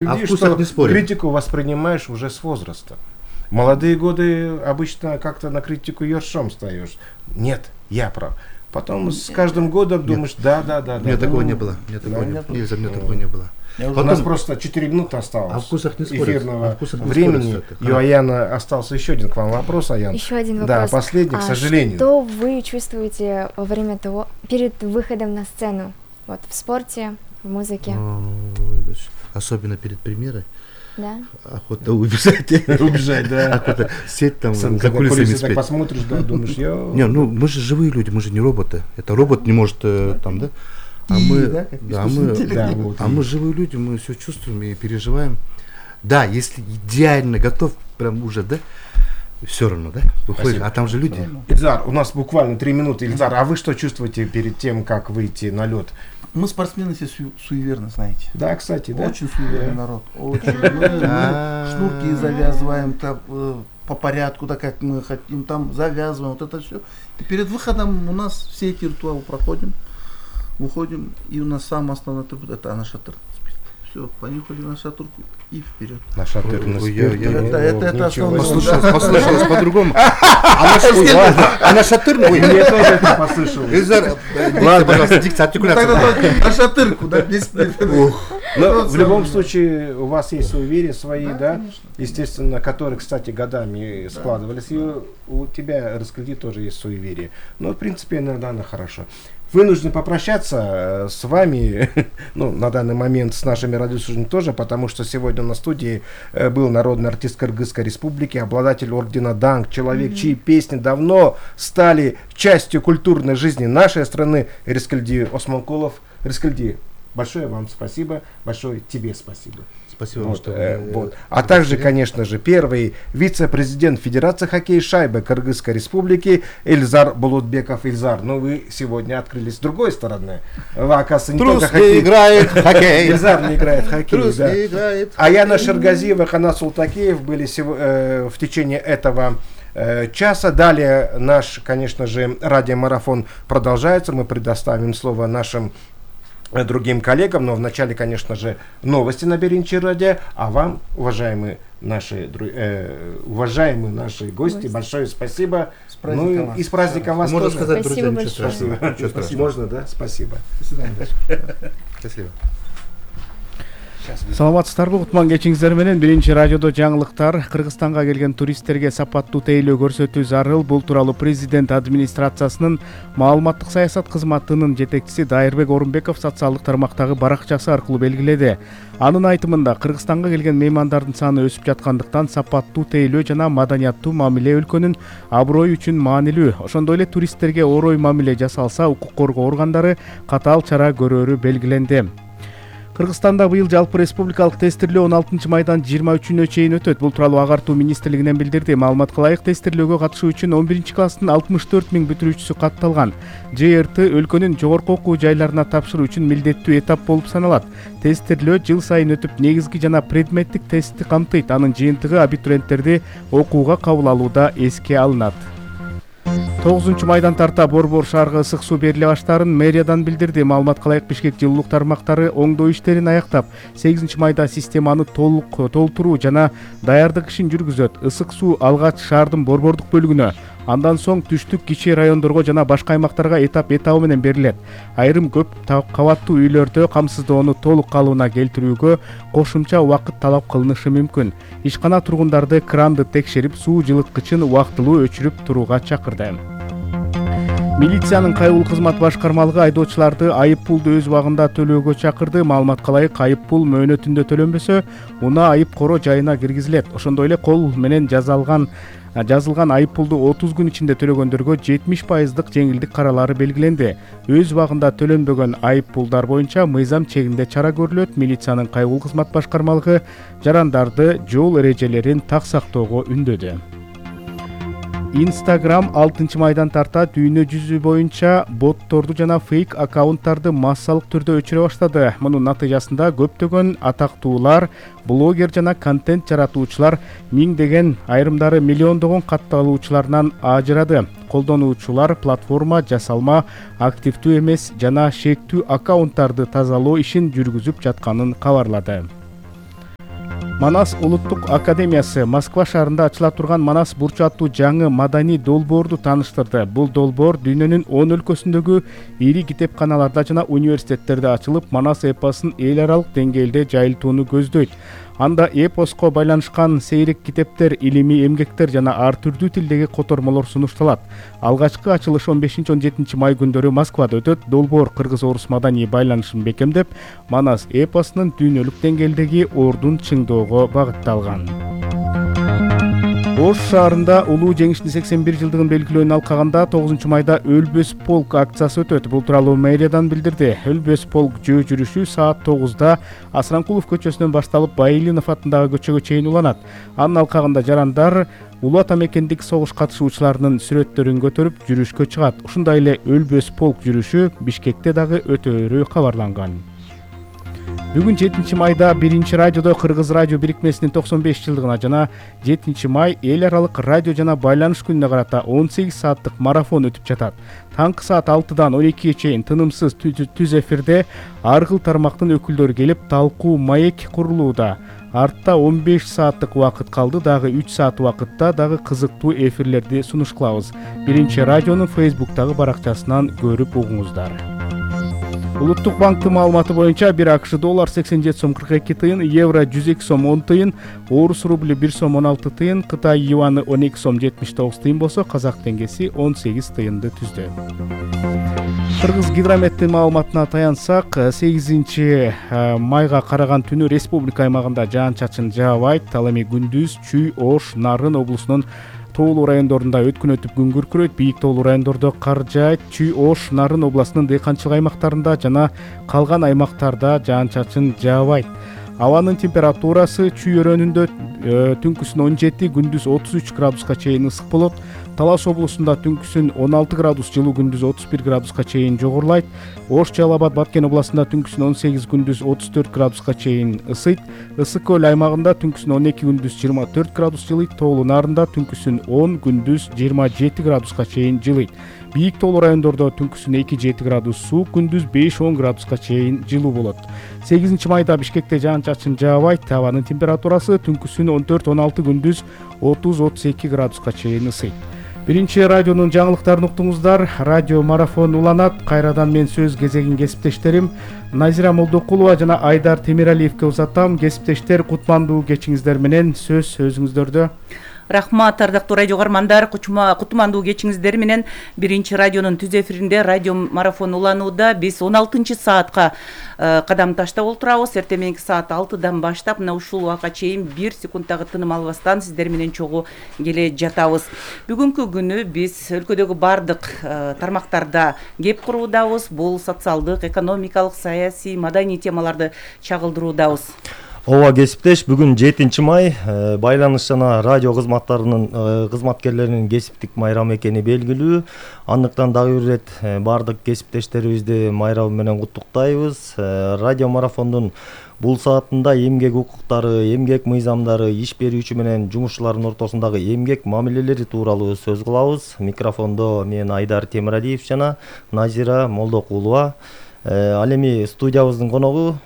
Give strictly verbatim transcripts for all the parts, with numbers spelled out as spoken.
А Людей, вкусах что не спорим. критику воспринимаешь уже с возраста. В молодые годы обычно как-то на критику ершом встаешь. Нет, я прав. Потом с каждым годом думаешь, да, да, да. У меня да, такого ну, не было. У меня такого да, не нет. было. Нельзя, у меня такого не было. У Потом- нас просто четыре минуты осталось. О вкусах не спорят. Эфирного О вкусах не времени. спорят, кстати. И у Аяна остался еще один к вам вопрос, Аян. Еще один Да, вопрос. последний, к А сожалению. Что вы чувствуете во время того, перед выходом на сцену? Вот в спорте, в музыке, Ой, особенно перед премьерой. да? Охота убежать. Убежать, да. Охота сесть там Сам, за когда кулисами кулисы так спеть. посмотришь, да, думаешь, я... Не, ну мы же живые люди, мы же не роботы. Это робот не может э, там, да? А мы, да, как да, мы, Да, вот. а мы живые люди, мы все чувствуем и переживаем. Да, если идеально готов, прям уже, да, все равно, да, выходит. Спасибо. А там же люди. Ильзар, у нас буквально три минуты. Ильзар, а вы что чувствуете перед тем, как выйти на лед? Мы спортсмены все су- суеверны, знаете. Да, кстати, да? Очень суеверный народ. Очень. Мы, мы А. шнурки завязываем там, э, по порядку, так как мы хотим, там завязываем, вот это все. И перед выходом у нас все эти ритуалы проходим, выходим, и у нас самый основной атрибут — это анашатыр. Все, понюхали нашатырку и вперед. На шатырный Ой, я- спирт. я- Это- это- это Ничего основной себе. Послышалось, послышалось по-другому. А наш- ой, ладно. А на шатырный? Ой, Мне тоже это послышалось. Эльзар, дикция, пожалуйста, дикция, Ну, артикуляция. тогда только нашатырку, да, без... Но Вот в любом самое. случае у вас есть суеверия свои, Да, да, конечно. естественно, которые, кстати, годами складывались. И у тебя, Раскольди, тоже есть суеверие. Но, в принципе, иногда оно хорошо. Вынужден попрощаться с вами, ну, на данный момент с нашими радиослушателями тоже, потому что сегодня на студии э, был народный артист Кыргызской Республики, обладатель ордена Данг, человек, чьи песни давно стали частью культурной жизни нашей страны, Раскольди Осмонкулов. Раскольди, большое вам спасибо, большое тебе спасибо. Спасибо вам, Вот, что э, вы вот. А также, конечно же, первый вице-президент Федерации хоккея шайбы Кыргызской Республики Эльзар Булутбеков. Эльзар, ну вы сегодня открылись с другой стороны. Вы, оказывается, не Трус только не хоккей. играет в хоккей. Эльзар не играет в хоккей, Трус да. не играет. Аяна Шергазиева, Ханат Султакеев были сего- э, в течение этого э, часа. Далее наш, конечно же, радиомарафон продолжается. Мы предоставим слово нашим э, другим коллегам, но вначале, конечно же, новости на Беринчи радио, а вам, уважаемые наши, дру- э, уважаемые наши гости, Гости. большое спасибо. С праздником Ну и, вас. и с праздником вас Можно тоже. сказать, Спасибо друзья, ничего большое. страшного. Ничего страшного. Можно, да? Спасибо. До свидания. Счастливо. Саламатсыздарбы, кутман кечиңиздер менен биринчи радиодо жаңылыктар. Кыргызстанга келген туристтерге сапаттуу тейлөө көрсөтүү зарыл. Бул тууралуу президент администрациясынын маалыматтык саясат кызматынын жетекчиси Дайырбек Орунбеков социалдык тармактагы баракчасы аркылуу белгиледи. Анын айтымында, Кыргызстанга келген меймандардын саны өсүп жаткандыктан сапаттуу тейлөө жана маданияттуу мамиле өлкөнүн аброю үчүн маанилүү. Ошондой эле туристтерге орой мамиле жасалса, укук коргоо органдары катаал чара көрөрү белгиленди. Кыргызстанда быйыл жалпы республикалык тестирлөө он алтынчы майдан жыйырма үчүнө чейин өтөт. Бул тууралуу Агартуу министрлигинен билдирди. Маалыматка ылайык, тестирлөөгө катышуу үчүн он биринчи класстын алтымыш төрт миң бүтүрүүчүсү катталган. Ж Р Т өлкөнүн жогорку окуу жайларына тапшыруу үчүн милдеттүү этап болуп саналат. Тестирлөө жыл сайын өтүп, негизги жана предметтик тестти камтыйт. Анын жыйынтыгы абитуриенттерди окууга кабыл алууда эске алынат. тогузунчу майдан тарта Борбор шаарга ысык суу бериле баштаарын мэриядан билдирди. Маалыматка ылайык, Бишкек жылуулук тармактары оңдоо иштерин аяктап, сегизинчи майда системаны толук толтуруу жана даярдык ишин жүргүзөт. Ысык суу алгач шаардын борбордук бөлүгүнө, андан соң түштүк кичи райондорго жана башка аймактарга этап этабы менен берилет. Айрым көп та- кабаттуу үйлөрдө камсыздоону толук калыбына келтирүүгө кошумча убакыт талап кылынышы мүмкүн. Ишкана тургундарды кранды текшерип, суу жылыткычын убактылуу өчүрүп турууга чакырды. Милициянын кайгылуу кызмат башкармалыгы айдоочуларды айып пулду өз убагында төлөөгө чакырды. Маалыматка ылайык, айып пул мөөнөтүндө төлөнбөсө, унаа айып коро жайына киргизилет. Ошондой эле кол менен жазалган жазылган айып пулду отуз күн ичинде төлөгөндөргө жетимиш пайыздык жеңилдик каралары белгиленди. Өз убагында төлөнбөгөн айып пулдар боюнча мыйзам чегинде чара көрүлөт. Милициянын кайгылуу кызмат башкармалыгы жарандарды жол эрежелерин так сактоого үндөдү. Instagram алтынчы майдан тарта дүйнө жүзү боюнча ботторду жана фейк аккаунттарды массалык түрдө өчүрө баштады. Мунун натыйжасында көптөгөн атактуулар, блогер жана контент жаратуучулар миңдеген, айрымдары миллиондогон катталуучуларынан ажырады. Колдонуучулар платформа жасалма, активдүү эмес жана шектүү аккаунттарды тазалоо ишин жүргүзүп жатканын кабарлады. Манас улуттук академиясы Москва шаарында ачыла турган Манас бурчу аттуу жаңы маданий долбоорду тааныштырды. Бул долбоор дүйнөнүн он өлкөсүндөгү ири китепканаларда жана университеттерде ачылып, Манас эпосун эл аралык деңгээлде жайылтууну көздөйт. Анда эпоско байланышкан сейрек китептер, илимий эмгектер жана ар түрдүү тилдеги котормолор сунушталат. Алгачкы ачылыш он бешинчи он жетинчи май күндөрү Москвада өтөт. Долбоор кыргыз-орус маданий байланышын бекемдеп, Манас эпосунун дүйнөлүк деңгээлдеги ордун чыңдоого багытталган. Ош шаарында улуу жеңиштин сексен бир жылдыгын белгилөөнү алкаганда тогузунчу майда Өлбөс полк акциясы өтөт. Бул тууралуу мэриядан билдирди. Өлбөс полк жөө жүрүшү саат тогузда Асранкулов көчөсүнөн башталып, Байилинов атындагы көчөгө чейин уланат. Анын алкагында жарандар улуу ата мекендик согуш катышуучуларынын сүрөттөрүн көтөрүп жүрүшкө чыгат. Ушундай эле Өлбөс полк жүрүшү Бишкекте дагы өтөөрү кабарланган. Бүгүн жетинчи майда биринчи радиодо Кыргыз радио бирикмесинин токсон беш жылдыгына жана жетинчи май эл аралык радио жана байланыш күнүнө карата он сегиз сааттык марафон өтүп жатат. Таңкы саат алтыдан он экиге чейин тынымсыз түз эфирде ар кыл тармактын өкүлдөрү келип, талкуу маек курулууда. Артта он беш сааттык убакыт калды, дагы үч саат убакытта дагы кызыктуу эфирлерди сунуш кылабыз. Биринчи радионун Фейсбуктагы баракчасынан көрүп угуңуздар. Улуттук банктын маалыматы боюнча бир АКШ доллар сексен жети сом кырк эки тыйын, евро жүз эки сом он тыйын, орус рубли бир сом он алты тыйын, Кытай юаны он эки сом жетимиш тогуз тыйын болсо, казак теңгеси он сегиз тыйынды түздү. Кыргыз гидрометтин маалыматына таянсак, сегизинчи майга караган түнү республика аймагында жаан-чачын жаабайт. Ал эми күндүз Чүй, Ош, Нарын облусунун тоолуу райондорунда өткүн өтүп күн күркүрөйт. Бийик тоолуу райондордо кар жаайт. Чүй, Ош, Нарын областынын дыйканчылык аймактарында жана калган аймактарда жаан-чачын жаабайт. Абанын температурасы Чүй өрөөнүндө түнкүсүн он жети, күндүз отуз үч градуска чейин ысык болот. Талас облусунда түнкүсүн он алты градус жылуу, күндүз отуз бир градуска чейин жогорулайт. Ош, Жалал Абад, Баткен областында түнкүсүн он сегиз, күндүз отуз төрт градуска чейин ысыйт. Ысык көл аймагында түнкүсүн он эки, күндүз жыйырма төрт градус жылыйт. Тоолуу Нарында түнкүсүн он, күндүз жыйырма жети градуска чейин жылыйт. Бийик тоолуу райондордо түнкүсүн эки жети градус суук, күндүз беш он градуска чейин жылуу болот. сегизинчи майда Бишкекте жаан-чачын жаабайт. Абанын температурасы түнкүсүн он төрт он алты, күндүз отуз отуз эки градуска чейин ысыйт. Биринчи радионун жаңылыктарын уктуңуздар. Радио марафон уланат. Кайрадан мен сөз кезегин кесиптештерим Назира Молдокулова жана Айдар Темиралиевке узатам. Кесиптештер, кутмандуу кечиңиздер менен сөз өзүңүздөрдө. Рахмат, ардактуу радио каармандар, кутмандуу кечиңиздер менен биринчи радионун түз эфиринде радио марафон уланууда. Биз он алтынчы саатка кадам таштап олтурабыз. Эртең саат алтыдан баштап мына ушул убакка чейин бир секундтагы тыным албастан сиздер менен чогуу келе жатабыз. Бүгүнкү күнү биз өлкөдөгү бардык тармактарда кеп куруудабыз. Бул социалдык, экономикалык, саясий, маданий темаларды чагылдыруудабыз. Ооба кесиптеш, бүгүн жетинчи май байланыш жана радио кызматтарынын кызматкерлеринин кесиптик майрамы экени белгилүү. Андыктан дагы бир ирет бардык кесиптештерибизди майрамы менен куттуктайбыз. Радио марафондун бул саатында эмгек укуктары, эмгек мыйзамдары, иш берүүчү менен жумушчулардын ортосундагы эмгек мамилелери тууралуу сөз кылабыз. Микрофондо мен Айдар Темиралиев жана Назира Молдокулова. Ал эми студиябыздын коногу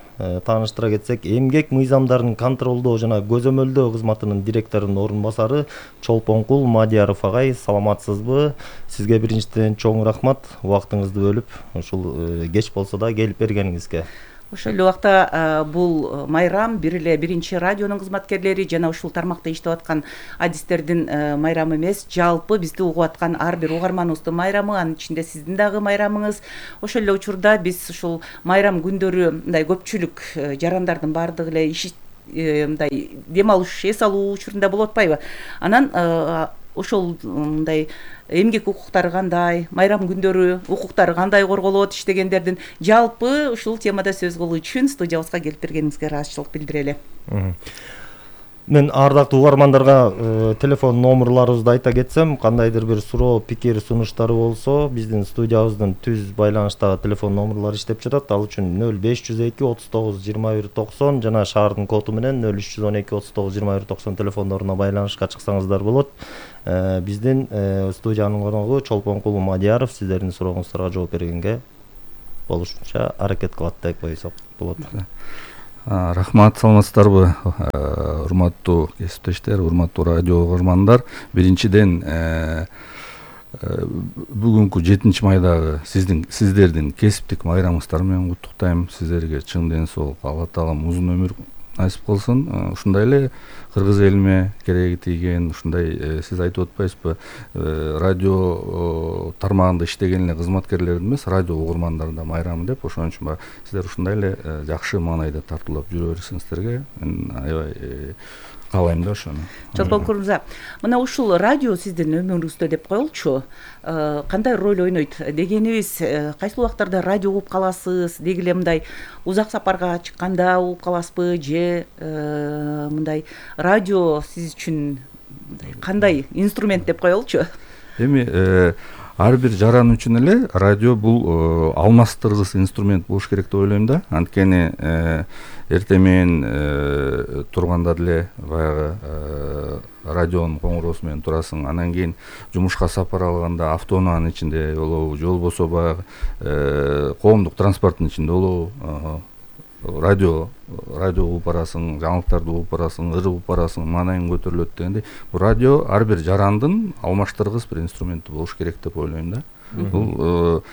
тааныштыра кетсек, эмгек мыйзамдарын контролдоо жана көзөмөлдөө кызматынын директорунун орун басары Чолпонкул Мадияров агай, саламатсызбы? Сизге биринчиден чоң рахмат, убактыңызды бөлүп, ушул кеч болсо да келип бергениңизге. Ошол эле убакта бул майрам бир эле биринчи радионун кызматкерлери жана ушул тармакта иштеп аткан адистердин майрамы эмес, жалпы бизди угуп аткан ар бир угарманыбыздын майрамы, анын ичинде сиздин дагы майрамыңыз. Ошол эле учурда биз ушул майрам күндөрү мындай көпчүлүк жарандардын баардыгы эле иш мындай дем алыш, эс алуу учурунда болуп атпайбы? Анан ошол мындай эмгек укуктары кандай, майрам күндөрү укуктары кандай корголот иштегендердин жалпы ушул темада сөз кылуу үчүн студиябызга келип бергениңизге ыраазычылык билдирели. Мен ардактуу угармандарга телефон номерларыбызды айта кетсем, кандайдыр бир суроо, пикир, сунуштары болсо, биздин студиябыздын түз байланыштагы телефон номерлары иштеп жатат. Ал үчүн нөл беш жүз эки отуз тогуз жыйырма бир токсон жана шаардын коду менен нөл үч жүз он эки отуз тогуз жыйырма бир токсон телефондоруна байланышка чыксаңыздар болот. Биздин студиянын коногу Чолпонкул Мадияров сиздердин сурооңуздарга жооп бергенге болушунча аракет кылат деп койсок болот. А, рахмат, саламатсыздарбы, урматтуу кесиптештер, урматтуу радио угармандар. Биринчиден бүгүнкү жетинчи майдагы сиздин сиздердин кесиптик майрамыңыздар менен куттуктайм. Сиздерге чың ден соолук, Алла таалам узун өмүр насип кылсын. Ушундай эле кыргыз элиме кереги тийген, ушундай сиз айтып атпайсызбы, радио тармагында иштеген эле кызматкерлердин эмес, радио угармандардын да майрамы деп, ошон үчүн сиздер ушундай эле жакшы маанайда тартуулап жүрө берсиңиздерге мен аябай каалайм да ошону. Чолпон Курмза, мына ушул радио сиздин өмүрүңүздө деп коелучу, кандай роль ойнойт дегенибиз, кайсы убактарда радио угуп каласыз, деги эле мындай узак сапарга чыкканда угуп каласызбы, же мындай радио сиз үчүн кандай инструмент деп коелучу? Эми ар бир жаран үчүн эле радио бул алмаштыргыс инструмент болуш керек деп ойлойм да. Анткени эртең менен турганда деле баягы радионун коңгуроосу менен турасың, анан кийин жумушка сапар алганда автоунаанын ичинде болобу, же болбосо баягы коомдук транспорттун ичинде болобу, радио радио угуп барасың, жаңылыктарды угуп барасың, ыр угуп барасың, маанайың көтөрүлөт дегендей. Бул радио ар бир жарандын алмаштыргыс бир инструменти болуш керек деп ойлойм да. Бул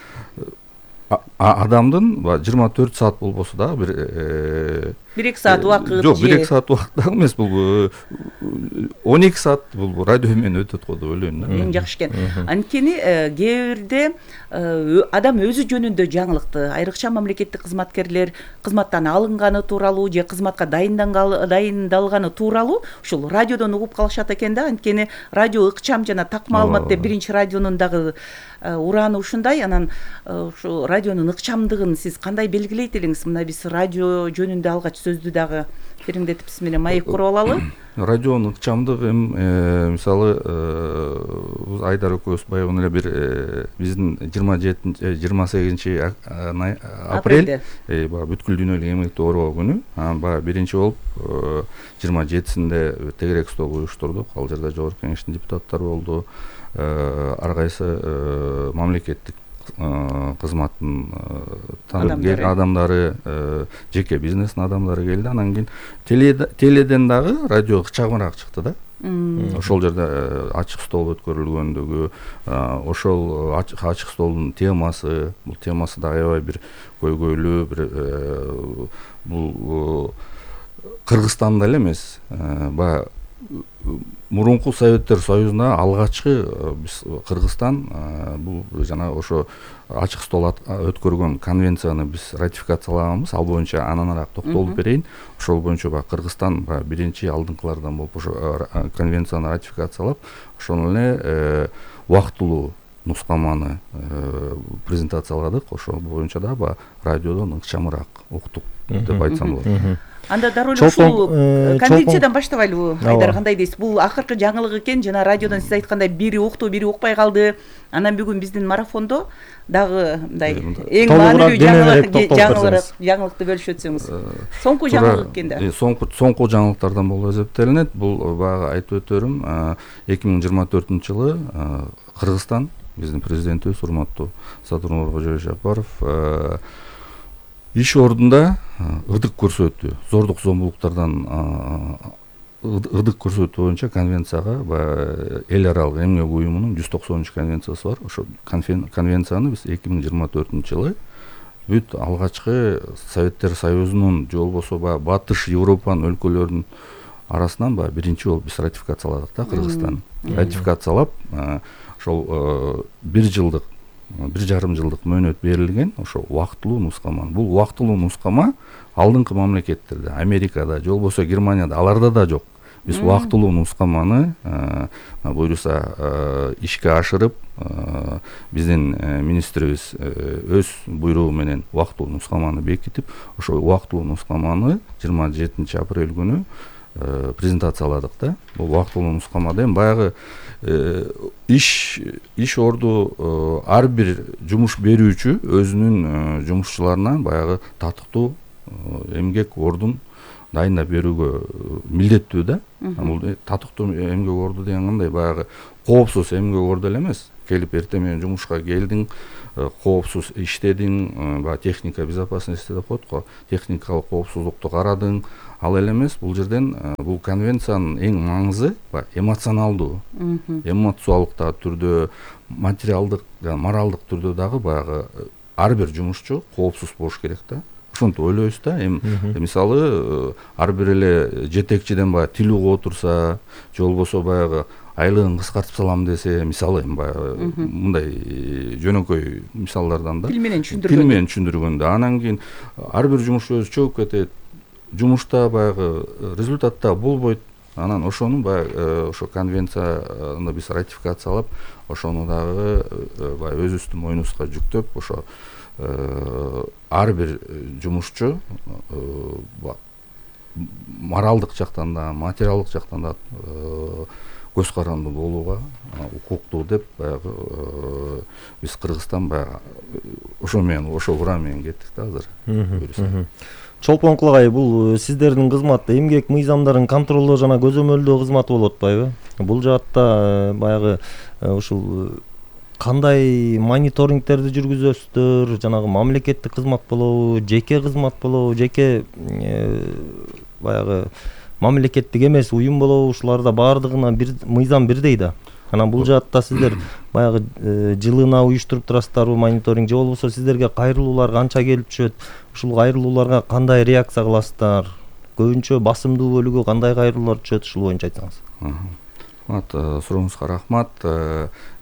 адамдын жыйырма төрт саат болбосо дагы бир бир эки саат убакыт, жок, бир эки саат убакыт дагы эмес, бул он эки саат бул радио менен өтөт го деп ойлойм да. Эң жакшы экен. Анткени кээ бирде адам өзү жөнүндө жаңылыкты, айрыкча мамлекеттик кызматкерлер кызматтан алынганы тууралуу же кызматка дайындалганы тууралуу ушул радиодон угуп калышат экен да. Анткени радио ыкчам жана так маалымат деп биринчи радионун дагы урааны ушундай. Анан ушу радионун ыкчамдыгын сиз кандай белгилейт элеңиз? Мына биз радио жөнүндө алгач сөздү дагы териңдетип менен маек куруп алалы. Радионун ыкчамдыгы эми мисалы Айдар экөөбүз баягы эле бир биздин жыйырма жетинчи жыйырма сегизинчи апрель баягы бүткүл дүйнөлүк эмгекти оорубаа күнү. Анан баягы биринчи болуп жыйырма жетисинде тегерек стол уюштурдук. Ал жерде жогорку кеңештин депутаттары болду, ар кайсы мамлекеттик кызматтын адамдары, жеке бизнестин адамдары келди. Анан кийин теледен дагы радио ыкчамыраак чыкты да. Ошол жерде ачык стол өткөрүлгөндүгү, ошол ачык столдун темасы, бул темасы да аябай бир көйгөйлүү, бир бул Кыргызстанда эле эмес, баягы мурунку Советтер Союзунда алгачкы биз Кыргызстан бул жана ошо ачык стол өткөргөн конвенцияны биз ратификациялаганбыз. Ал боюнча ананараак токтолуп берейин. Ошол боюнча баягы Кыргызстан баягы биринчи алдыңкылардан болуп ошо конвенцияны ратификациялап, ошону эле убактылуу нускаманы презентацияладык. Ошол боюнча да баягы радиодон ыкчамыраак уктук деп айтсам болот. Анда дароо эле ушул конвенциядан баштабайлыбы? Айдар, кандай дейсиз? Бул акыркы жаңылык экен, жана радиодон сиз айткандай бири укту, бири укпай калды. Анан бүгүн биздин марафондо дагы мындай эң маанилүү жаңылыкты бөлүшүп өтсөңүз. Соңку жаңылык экен да. Соңку соңку жаңылыктардан болуп эсептелинет. Бул баягы айтып өтөрүм, эки миң жыйырма төртүнчү жылы Кыргызстан, биздин президентибиз урматтуу Садыр Кожоевич Жапаров иш ордунда ырдык көрсөтүү, зордук зомбулуктардан ырдык көрсөтүү боюнча конвенцияга баягы эл аралык эмгек уюмунун жүз токсонунчу конвенциясы бар. Ошо конвенцияны биз эки миң жыйырма төртүнчү жылы бүт алгачкы Советтер Союзунун же болбосо баягы Батыш Европанын өлкөлөрүнүн арасынан баягы биринчи болуп биз ратификацияладык да, Кыргызстан. Ратификациялап ошол бир жылдык бир жарым жылдык мөөнөт берилген ошо убактылуу нускама. Бул убактылуу нускама алдыңкы мамлекеттерде, Америкада же болбосо Германияда аларда да жок. Биз убактылуу нускаманы буюрса ишке ашырып, биздин министрибиз өз буйругу менен убактылуу нускаманы бекитип, ошо убактылуу нускаманы жыйырма жетинчи апрель күнү презентацияладык да. Бул убактылуу нускамада эми баягы иш иш орду ар бир жумуш берүүчү өзүнүн жумушчуларына баягы татыктуу эмгек ордун дайындап берүүгө милдеттүү да. Бул татыктуу эмгек орду деген кандай, баягы коопсуз эмгек орду эле эмес. Келип эртең менен жумушка келдиң, коопсуз иштедиң, баягы техника безопасности деп коет го, техникалык коопсуздукту карадың, ал эле эмес. Бул жерден бул конвенциянын эң маңызы баягы эмоционалдуу, эмоциялык да түрдө, материалдык жана моралдык түрдө дагы баягы ар бир жумушчу коопсуз болуш керек да. Ошентип ойлойбуз да. Эми мисалы ар бир эле жетекчиден баягы тил угуп отурса, же болбосо баягы айлыгын кыскартып салам десе, мисалы эми баягы мындай жөнөкөй мисалдардан да тил менен түшүндүргөндө тил менен түшүндүргөндө анан кийин ар бир жумушчу өзү чөгүп кетет, жумушта баягы результатта болбойт. Анан ошону баягы ошо конвенцияны биз ратификациялап, ошону дагы баягы өзүбүздүн мойнубузга жүктөп, ошо ар бир жумушчу моралдык жактан да, материалдык жактан да көз каранды болууга укуктуу деп баягы биз Кыргызстан баягы ошо менен, ошо ура менен кеттик да азыр. Чолпон Кулагай, бул сиздердин кызмат эмгек мыйзамдарын контролдоо жана көзөмөлдөө кызматы болуп атпайбы? Бул жаатта баягы ушул кандай мониторингтерди жүргүзөсүздөр, жанагы мамлекеттик кызмат болобу, жеке кызмат болобу, жеке баягы мамлекеттик эмес уюм болобу, ушуларда баардыгына бир мыйзам бирдей да. Анан бул жаатта сиздер баягы жылына уюштуруп турасыздарбы мониторинг, же болбосо сиздерге кайрылуулар канча келип түшөт? Ушул кайрылууларга кандай реакция кыласыздар? Көбүнчө басымдуу бөлүгү кандай кайрылуулар түшөт? Ушул боюнча айтсаңыз. Рахмат, сурооңузга рахмат.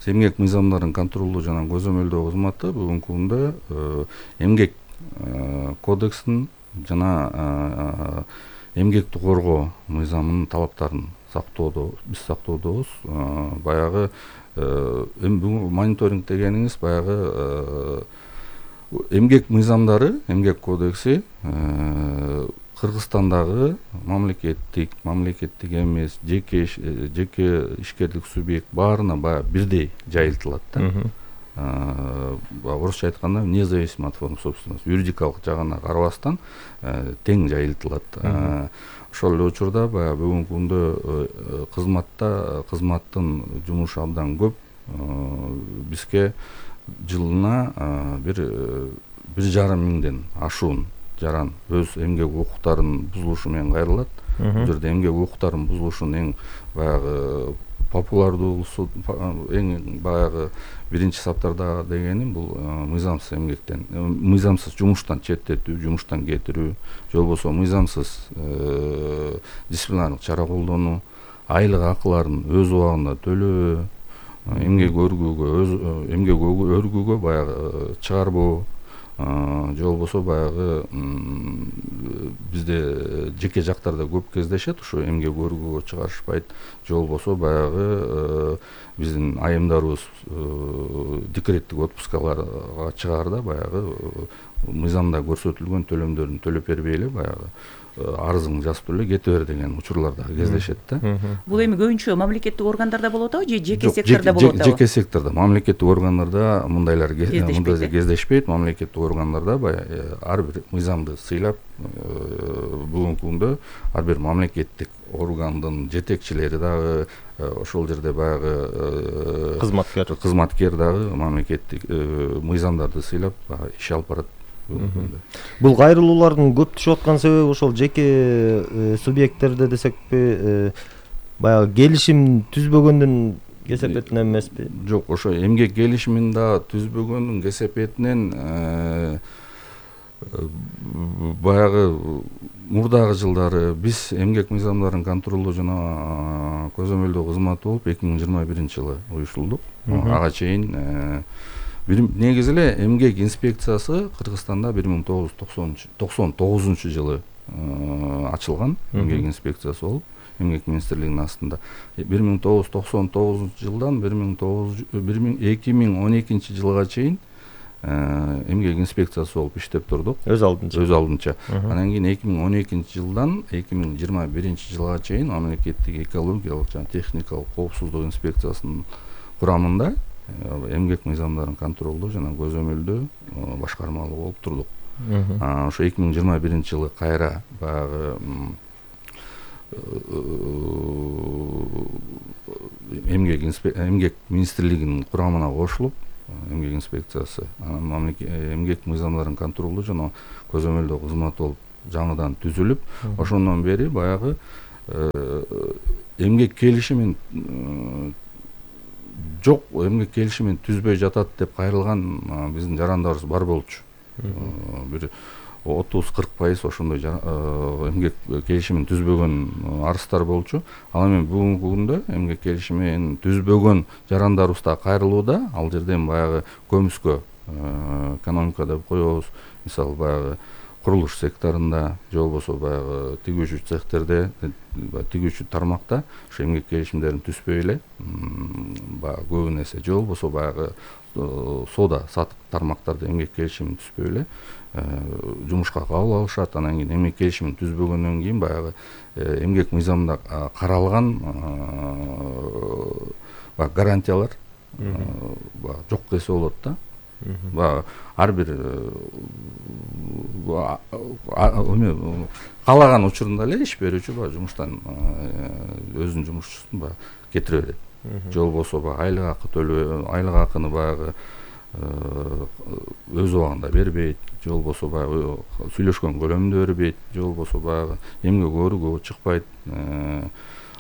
Эмгек мыйзамдарын контролдоо жана көзөмөлдөө кызматы бүгүнкү күндө эмгек кодексин жана эмгекти коргоо мыйзамынын талаптарын сактоодо биз сактоодобуз. Баягы эми бүгүн мониторинг дегениңиз баягы эмгек мыйзамдары, эмгек кодекси Кыргызстандагы мамлекеттик, мамлекеттик эмес, жеке жеке ишкерлик субъект баарына баягы бирдей жайылтылат да. Орусча айтканда независимо от форм собственности, юридикалык жагына карабастан тең жайылтылат. Ошол эле учурда баягы бүгүнкү күндө кызматта кызматтын жумушу абдан көп. Бизге жылына бир бир жарым миңден ашуун жаран өз эмгек укуктарынын бузулушу менен кайрылат. Бул жерде эмгек укуктарынын бузулушунун эң баягы популярдуусу, эң баягы биринчи саптарда дегени бул мыйзамсыз эмгектен, мыйзамсыз жумуштан четтетүү, жумуштан кетирүү, же болбосо мыйзамсыз дисциплинардык чара колдонуу, айлык акыларын өз убагында төлөө, эмгек өргүүгө өз эмгек өргүүгө баягы чыгарбоо, же болбосо баягы бизде жеке жактарда көп кездешет, ушу эмгек өргүүгө чыгарышпайт, же болбосо баягы биздин айымдарыбыз декреттик отпускаларга чыгаарда баягы мыйзамда көрсөтүлгөн төлөмдөрүн төлөп бербей эле баягы арызыңды жазып эле кете бер деген учурлар да кездешет да. Бул эми көбүнчө мамлекеттик органдарда болот атабы же жеке сектордо болот атабы? Жеке сектордо, мамлекеттик органдарда мындайлар мындай кездешпейт. Мамлекеттик органдарда баягы ар бир мыйзамды сыйлап, бүгүнкү күндө ар бир мамлекеттик органдын жетекчилери дагы ошол жерде баягы кызматкер кызматкер дагы мамлекеттик мыйзамдарды сыйлап иш алып барат. Бул кайрылуулардын көп түшүп аткан себеби ошол жеке субъекттерде десекпи, баягы келишим түзбөгөндүн кесепетинен эмеспи? Жок, ошо эмгек келишимин да түзбөгөндүн кесепетинен баягы мурдагы жылдары биз эмгек мыйзамдарын контролдоо жана көзөмөлдөө кызматы болуп эки миң жыйырма биринчи жылы уюштурулдук. Ага чейин негизи эле эмгек инспекциясы Кыргызстанда бир миң тогуз жүз токсон тогузунчу жылы ачылган эмгек инспекциясы болуп, эмгек министрлигинин астында. бир миң тогуз жүз токсон тогузунчу жылдан эки миң он экинчи жылга чейин эмгек инспекциясы болуп иштеп турдук. Өз алдынча. Өз алдынча. Анан кийин эки миң он экинчи жылдан эки миң жыйырма биринчи жылга чейин мамлекеттик экологиялык жана техникалык коопсуздук инспекциясынын курамында эмгек мыйзамдарын контролдоо жана көзөмөлдөө башкармалуу болуп турдук. Ошо эки миң жыйырма биринчи жылы кайра баягы эмгек эмгек министрлигинин курамына кошулуп, эмгек инспекциясы, анан эмгек мыйзамдарын контролдоо жана көзөмөлдөө кызматы болуп жаңыдан түзүлүп, ошондон бери баягы эмгек келишимин жок, эмгек келишимин түзбөй жатат деп кайрылган биздин жарандарыбыз бар болчу. Бир отуз кырк пайыз ошондой эмгек келишимин түзбөгөн арыздар болчу. Ал эми бүгүнкү күндө эмгек келишимин түзбөгөн жарандарыбыз да кайрылууда. Ал жерден баягы көмүскө экономика деп коебуз. Мисалы баягы курулуш секторунда, же болбосо баягы тигүүчү цехтерде, тигүүчү тармакта ошо эмгек келишимдерин түзбөй эле баягы көбүн эсе, же болбосо баягы соода сатык тармактарда эмгек келишимин түзбөй эле жумушка кабыл алышат. Анан кийин эмгек келишимин түзбөгөндөн кийин баягы эмгек мыйзамында каралган баягы гарантиялар жокко эсе болот да. Баягы ар бир каалаган учурунда эле иш берүүчү баягы жумуштан өзүнүн жумушчусун баягы кетире берет. Же болбосо баягы айлык акы төлөбөй, айлык акыны баягы өз убагында бербейт, же болбосо баягы сүйлөшкөн көлөмүндө бербейт, же болбосо баягы эмгек өөрүгө чыкпайт,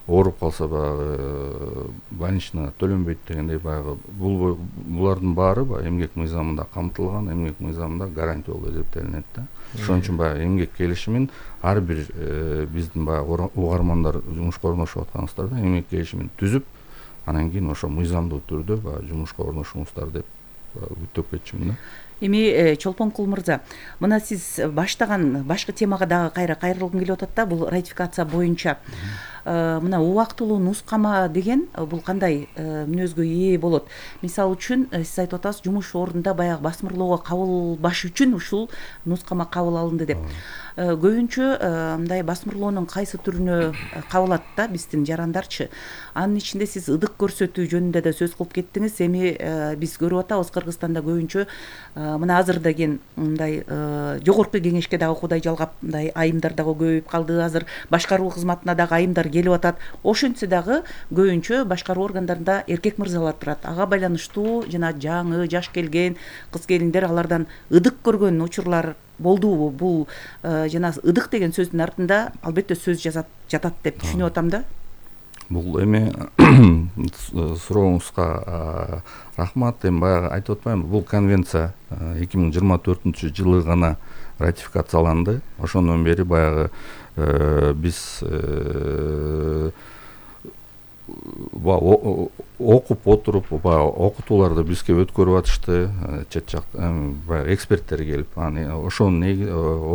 ооруп калса баягы больничный төлөнбөйт дегендей баягы булардын баары баягы эмгек мыйзамында камтылган, эмгек мыйзамында гарантия болуп эсептелинет да. Ошон үчүн баягы эмгек келишимин ар бир биздин баягы угармандар жумушка орношуп атканыбыздарда эмгек келишимин түзүп, анан кийин ошо мыйзамдуу түрдө баягы жумушка орношуңуздар деп күтүп кетчүмүн да. Эми Чолпонкул мырза, мына сиз баштаган башкы темага дагы кайра кайрылгым келип атат да, бул ратификация боюнча. Мына убактылуу нускама деген бул кандай мүнөзгө ээ болот? Мисалы үчүн сиз айтып атасыз, жумуш ордунда баягы басмырлоого кабылбаш үчүн ушул нускама кабыл алынды деп. Көбүнчө мындай басмырлоонун кайсы түрүнө кабылат да биздин жарандарчы? Анын ичинде сиз ыдык көрсөтүү жөнүндө да сөз кылып кеттиңиз. Эми биз көрүп атабыз Кыргызстанда көбүнчө мына азыр деген мындай жогорку кеңешке дагы кудай жалгап мындай айымдар дагы көбөйүп калды. Азыр башкаруу кызматына дагы айымдар келип атат. Ошентсе дагы көбүнчө башкаруу органдарында эркек мырзалар турат. Ага байланыштуу жана жаңы жаш келген кыз келиндер алардан ыдык көргөн учурлар болдубу? Бул жана ыдык деген сөздүн артында албетте сөз жатат деп түшүнүп атам да. Бул эми сурооңузга рахмат. Эми баягы айтып атпаймынбы, бул конвенция эки миң жыйырма төртүнчү жылы гана ратификацияланды. Ошондон бери баягы биз окуп отуруп баягы окутууларды бизге өткөрүп атышты, чет жак баягы эксперттер келип, ошонун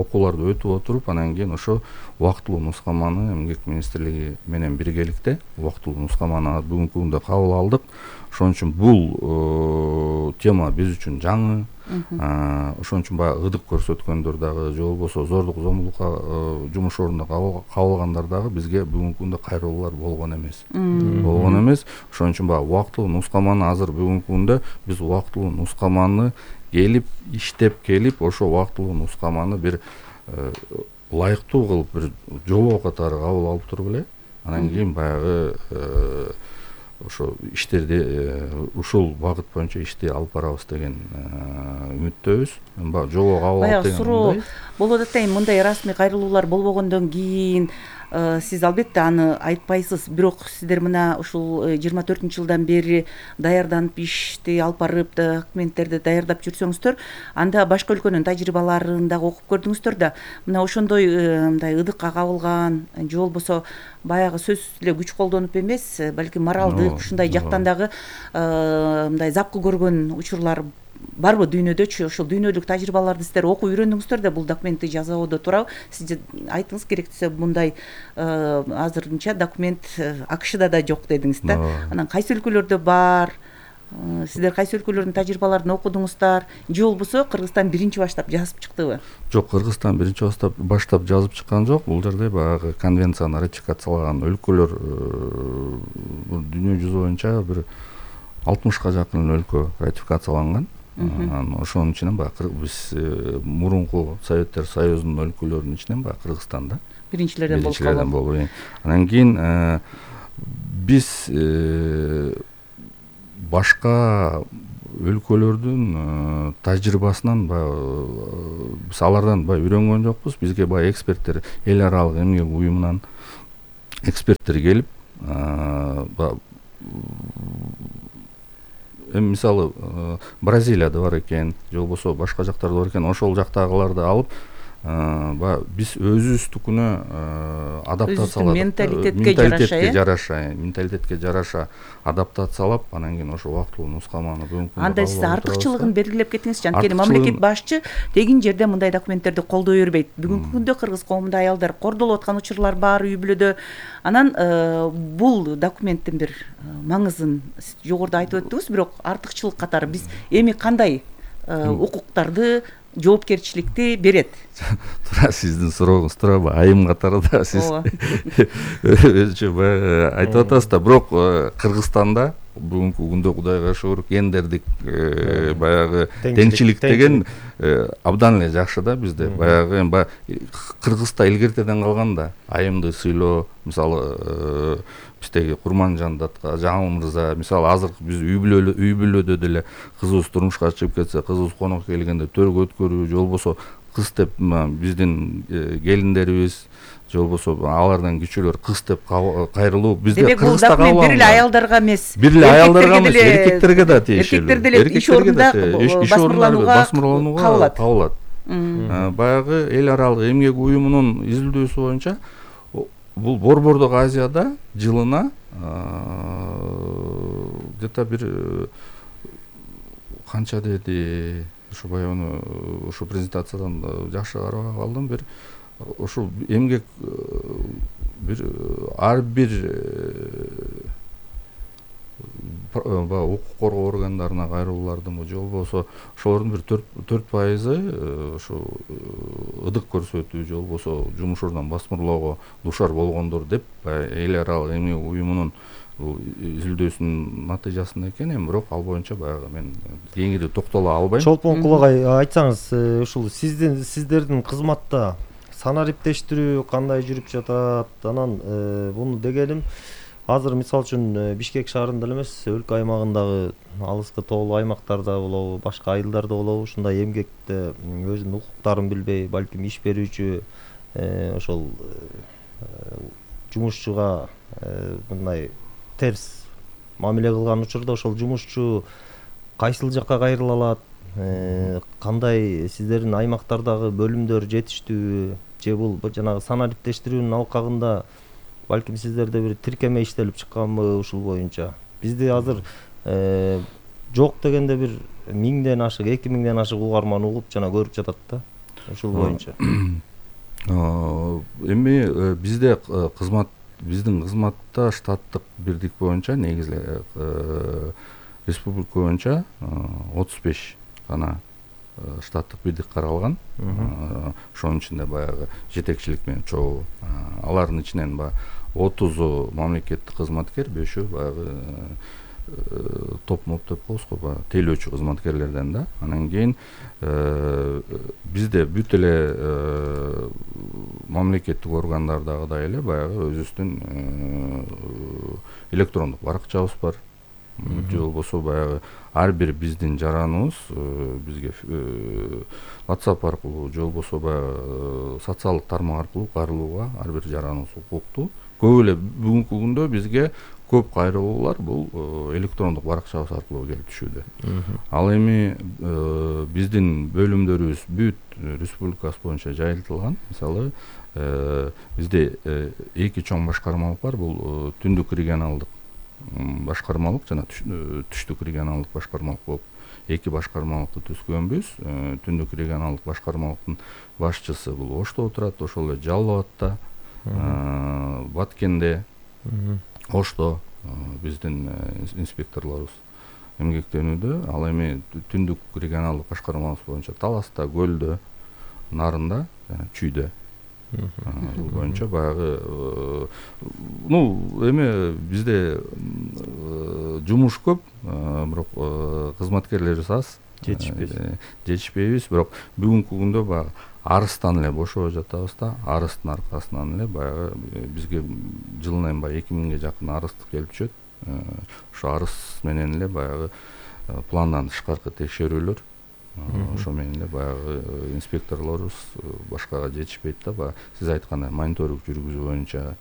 окууларды өтүп отуруп, анан кийин ошо убактылуу нускаманы эмгек министрлиги менен биргеликте убактылуу нускаманы бүгүнкү күндө кабыл алдык. Ошон үчүн бул тема биз үчүн жаңы. Ошон үчүн баягы ыдык көрсөткөндөр дагы, же болбосо зордук зомбулукка жумуш ордунда кабылгандар дагы бизге бүгүнкү күндө кайрылуулар болгон эмес. Болгон эмес. Ошон үчүн баягы убактылуу нускаманы азыр бүгүнкү күндө биз убактылуу нускаманы келип иштеп келип, ошо убактылуу нускаманы бир ылайыктуу кылып бир жобо катары кабыл алып туруп эле, анан кийин баягы ошо иштерди ушул багыт боюнча ишти алып барабыз деген үмүттөбүз. Баягы жобо кабыл алып деген суроо болуп атат да, мындай расмий кайрылуулар болбогондон кийин сиз албетте аны айтпайсыз, бирок сиздер мына ушул жыйырма төртүнчү жылдан бери даярданып ишти алып барып документтерди даярдап жүрсөңүздөр, анда башка өлкөнүн тажрыйбаларын дагы окуп көрдүңүздөр да, мына ошондой мындай ыдыкка кабылган, же болбосо баягы сөзсүз эле күч колдонуп эмес, балки моралдык ушундай жактан дагы мындай запкы көргөн учурлар барбы дүйнөдөчү? Ошол дүйнөлүк тажрыйбаларды сиздер окуп үйрөндүңүздөр да бул документти жасоодо туурабы? Сиз айтыңыз, керектесе мындай азырынча документ АКШда да жок дедиңиз да. Анан кайсы өлкөлөрдө бар? Сиздер кайсы өлкөлөрдүн тажрыйбаларын окудуңуздар? Же болбосо Кыргызстан биринчи баштап жазып чыктыбы? Жок, Кыргызстан биринчи баштап баштап жазып чыккан жок. Бул жерде баягы конвенцияны ратификациялаган өлкөлөр дүйнө жүзү боюнча бир алтымышка жакын өлкө ратификацияланган. Ошонун ичинен баягы биз мурунку Советтер Союзунун өлкөлөрүнүн ичинен баягы Кыргызстан да биринчилерден болуп. Анан кийин биз башка өлкөлөрдүн тажрыйбасынан баягы биз алардан баягы үйрөнгөн жокпуз. Бизге баягы эксперттер, эл аралык эмгек уюмунан эксперттер келип, эми мисалы Бразилияда бар экен, же болбосо башка жактарда бар экен, ошол жактагыларды алып, баягы биз өзүбүздүкүнө адаптациялап, менталитетке жараша, менталитетке жараша адаптациялап, анан кийин ошо убактылуу нускаманы бүгүнкү күндө анда сиз артыкчылыгын белгилеп кетиңизчи. Анткени мамлекет башчы тегин жерде мындай документтерди колдой бербейт. Бүгүнкү күндө кыргыз коомунда аялдар кордолуп аткан учурлар бар үй бүлөдө. Анан бул документтин бир маңызын жогоруда айтып өттүңүз, бирок артыкчылык катары биз эми кандай укуктарды, жоопкерчиликти берет? Туура сиздин сурооңуз туура айым катары да сиз өзүнчө баягы айтып атасыз да, бирок Кыргызстанда бүгүнкү күндө Кудайга шүгүр гендердик баягы теңчилик деген абдан эле жакшы да бизде. Баягы эми Кыргызда илгертеден калган да, айымды сыйлоо, мисалы биздеги Курманжандатка Жаңыл мырза, мисалы азыркы биз үй бүлө үй бүлөдө деле кызыбыз турмушка чыгып кетсе, кызыбыз конок келгенде төргө өткөрүү, же болбосо кыз деп биздин келиндерибиз, же болбосо алардан кичүүлөр кыз деп кайрылуу бизде Кыргызда кабыл алынган. Бир эле аялдарга эмес, бир эле аялдарга эмес, эркектерге да тиешелүү. Эркектер деле иш орунда басмырланууга кабылат. Баягы эл аралык эмгек уюмунун изилдөөсү боюнча бул Борбордук Азияда жылына где-то бир канча деди, ушу баягы ушу презентациядан жакшы карап калдым, бир ошо эмгек бир ар бир укук коргоо органдарына кайрылуулардын, же болбосо ошолордун бир төрт пайызы ошо ыдык көрсөтүү, же болбосо жумуш ордунан басмырлоого дуушар болгондор деп эл аралык эмгек уюмунун изилдөөсүнүн натыйжасында экен. Эми бирок ал боюнча баягы мен кеңири токтоло албайм. Чолпон Кулагай, айтсаңыз, ушул сиздин сиздердин кызматта санариптештирүү кандай жүрүп жатат? Анан буну дегеним, азыр мисалы үчүн Бишкек шаарында эле эмес, өлкө аймагындагы алыскы тоолуу аймактарда болобу, башка айылдарда болобу, ушундай эмгекте өзүнүн укуктарын билбей, балким иш берүүчү ошол жумушчуга мындай терс мамиле кылган учурда ошол жумушчу кайсыл жакка кайрыла алат? Кандай сиздердин аймактардагы бөлүмдөр жетиштүүбү, же бул жанагы санариптештирүүнүн алкагында балким сиздерде бир тиркеме иштелип чыкканбы ушул боюнча? Бизде азыр жок дегенде бир миңден ашык, эки миңден ашык угарман угуп жана көрүп жатат да ушул боюнча. Эми бизде кызмат биздин кызматта штаттык бирдик боюнча негизи республика боюнча отуз беш гана штаттык бирдик каралган. Ошонун ичинде баягы жетекчилик менен чогуу, алардын ичинен баягы отузу мамлекеттик кызматкер, бешөө баягы топ моп деп коебуз го, баягы тейлөөчү кызматкерлерден да. Анан кийин бизде бүт эле мамлекеттик органдардагыдай эле баягы өзүбүздүн электрондук баракчабыз бар. Же болбосо баягы ар бир биздин жараныбыз бизге WhatsApp аркылуу, же болбосо баягы социалдык тармак аркылуу кайрылууга ар бир жараныбыз укуктуу. Көп эле бүгүнкү күндө бизге көп кайрылуулар бул электрондук баракчабыз аркылуу келип түшүүдө. Ал эми биздин бөлүмдөрүбүз бүт республикасы боюнча жайылтылган. Мисалы бизде эки чоң башкармалык бар. Бул түндүк регионалдык башкармалык жана түштүк регионалдык башкармалык болуп эки башкармалыкты түзгөнбүз. Түндүк регионалдык башкармалыктын башчысы бул Ошто отурат, ошол эле Жалал Абадта, Баткенде, Ошто биздин инспекторлорубуз эмгектенүүдө. Ал эми түндүк регионалдык башкармабыз боюнча Таласта, Көлдө, Нарында жана Чүйдө боюнча баягы ну эми бизде жумуш көп, бирок кызматкерлерибиз аз, жетишпейбиз. Бирок бүгүнкү күндө баягы арыстан эле бошобой жатабыз да. Арыстын аркасынан эле баягы бизге жылына баягы эки миңге жакын арыс келип түшөт. Ошо арыс менен эле баягы пландан тышкаркы текшерүүлөр ошо менен эле баягы инспекторлорубуз башкага жетишпейт да, баягы сиз айткандай мониторинг жүргүзүү боюнча.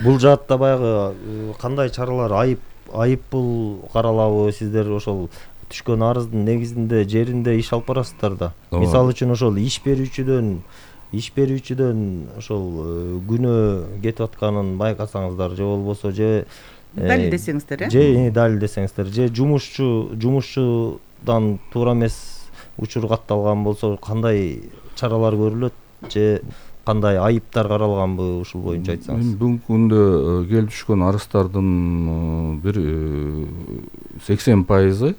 Бул жаатта баягы кандай чаралар, айып айыппул каралабы? Сиздер ошол түшкөн арыздын негизинде жеринде иш алып барасыздар да. Мисалы үчүн ошол иш берүүчүдөн иш берүүчүдөн ошол күнөө кетип атканын байкасаңыздар же болбосо же далилдесеңиздер, э? Же далилдесеңиздер, же жумушчу жумушчудан туура эмес учур катталган болсо кандай чаралар көрүлөт, же кандай айыптар каралганбы, ушул боюнча айтсаңыз. Бүгүнкү күндө келип түшкөн арыздардын бир сексен пайызы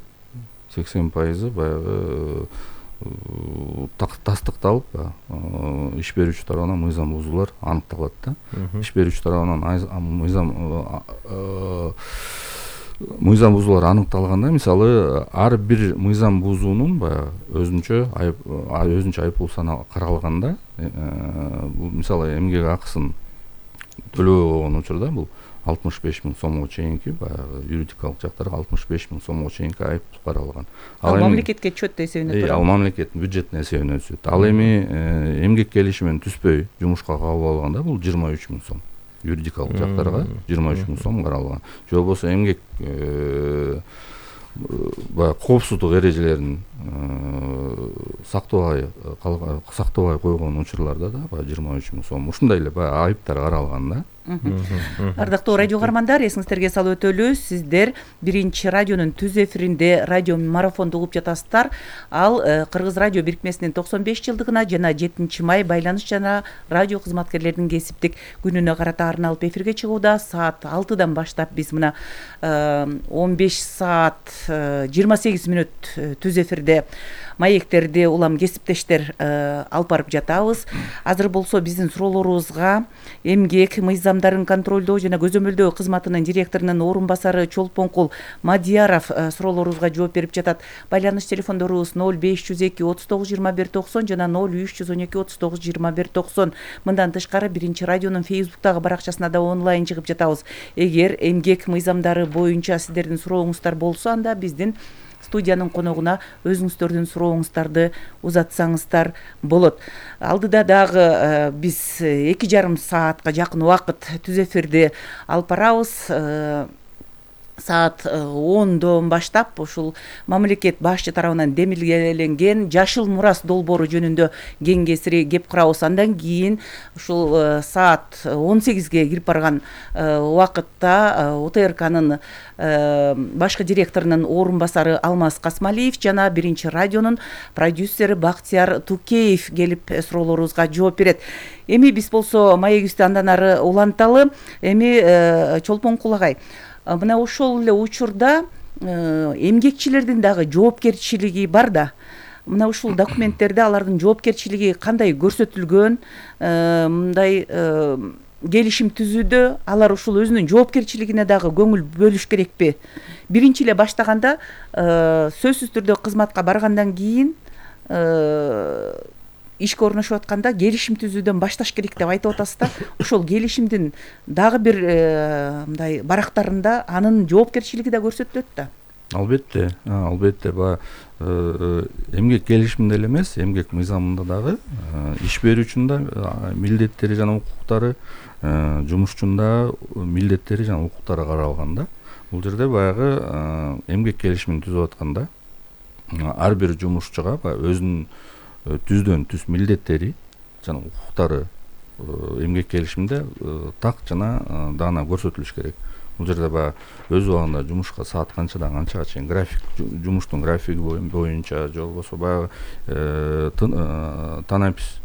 сексен пайызы баягы тастыкталып, иш берүүчү тарабынан мыйзам бузуулар аныкталат да. Иш берүүчү тарабынан мыйзам мыйзам бузуулар аныкталганда, мисалы ар бир мыйзам бузуунун баягы өзүнчө айып өзүнчө айыппул саналып каралганда, бул мисалы эмгек акысын төлөбөй койгон учурда бул алтымыш беш миң сомго чейинки баягы юридикалык жактарга алтымыш беш миң сомго чейинки айып каралган. Ал мамлекетке отчет эсебине турат. Ал мамлекеттин бюджеттин эсебине түшөт. Ал эми эмгек келишими менен түспөй жумушка кабыл алганда бул жыйырма үч миң сом. Юридикалык жактарга жыйырма үч миң сом каралган. Же болбосо эмгек баягы коопсуздук эрежелерин сактабай сактабай койгон учурларда да баягы жыйырма үч миң сом. Ушундай эле баягы айыптар каралган да. Ардактуу радио каармандар, эсиңиздерге салып өтөлү, сиздер биринчи радионун түз эфиринде радио марафонду угуп жатасыздар. Ал Кыргыз радио бирикмесинин токсон беш жылдыгына жана жетинчи май байланыш жана радио кызматкерлеринин кесиптик күнүнө карата арналып эфирге чыгууда. Саат алтыдан баштап биз мына он беш саат жыйырма сегиз мүнөт түз эфирде маектерди улам кесиптештер алып барып жатабыз. Азыр болсо биздин суроолорубузга эмгек мыйзамдарын контролдоо жана көзөмөлдөө кызматынын директорунун орун басары Чолпонкул Мадияров суроолорубузга жооп берип жатат. Байланыш телефондорубуз ноль беш жүз эки отуз тогуз жыйырма бир токсон жана ноль үч жүз он эки отуз тогуз жыйырма бир токсон. Мындан тышкары биринчи радионун Facebook'тагы баракчасына да онлайн чыгып жатабыз. Эгер эмгек мыйзамдары боюнча сиздердин сурооңуздар болсо, анда биздин студиянын коногуна өзүңүздөрдүн сурооңуздарды узатсаңыздар болот. Алдыда дагы биз эки жарым саатка жакын убакыт түз эфирди алып барабыз. Саат ондон баштап ушул мамлекет башчы тарабынан демилгеленген жашыл мурас долбоору жөнүндө кеңесири кеп курабыз. Андан кийин ушул саат он сегизге кирип барган убакытта О Т Р К'нын башкы директорунун орун басары Алмаз Касмалиев жана биринчи радионун продюсери Бактияр Тукеев келип суроолорубузга жооп берет. Эми биз болсо маегибизди андан ары уланталы. Эми Чолпонкул агай, мына ошол эле учурда эмгекчилердин дагы жоопкерчилиги бар да. Мына ушул документтерде алардын жоопкерчилиги кандай көрсөтүлгөн? Мындай келишим түзүүдө алар ушул өзүнүн жоопкерчилигине дагы көңүл бөлүш керекпи? Биринчи эле баштаганда сөзсүз түрдө кызматка баргандан кийин ишке орношуп атканда келишим түзүүдөн башташ керек деп айтып атасыз да. Ошол келишимдин дагы бир мындай барактарында анын жоопкерчилиги да көрсөтүлөт да. Албетте, албетте, баягы эмгек келишиминде эле эмес, эмгек мыйзамында дагы иш берүүчүнүн да милдеттери жана укуктары, жумушчунун да милдеттери жана укуктары каралган да. Бул жерде баягы эмгек келишимин түзүп атканда ар бир жумушчуга өзүнүн түздөн түз милдеттери жана укуктары эмгек келишиминде так жана даана көрсөтүлүш керек. Бул жерде баягы өз убагында жумушка саат канчадан канчага чейин график, жумуштун графиги боюнча, же болбосо баягы танапис,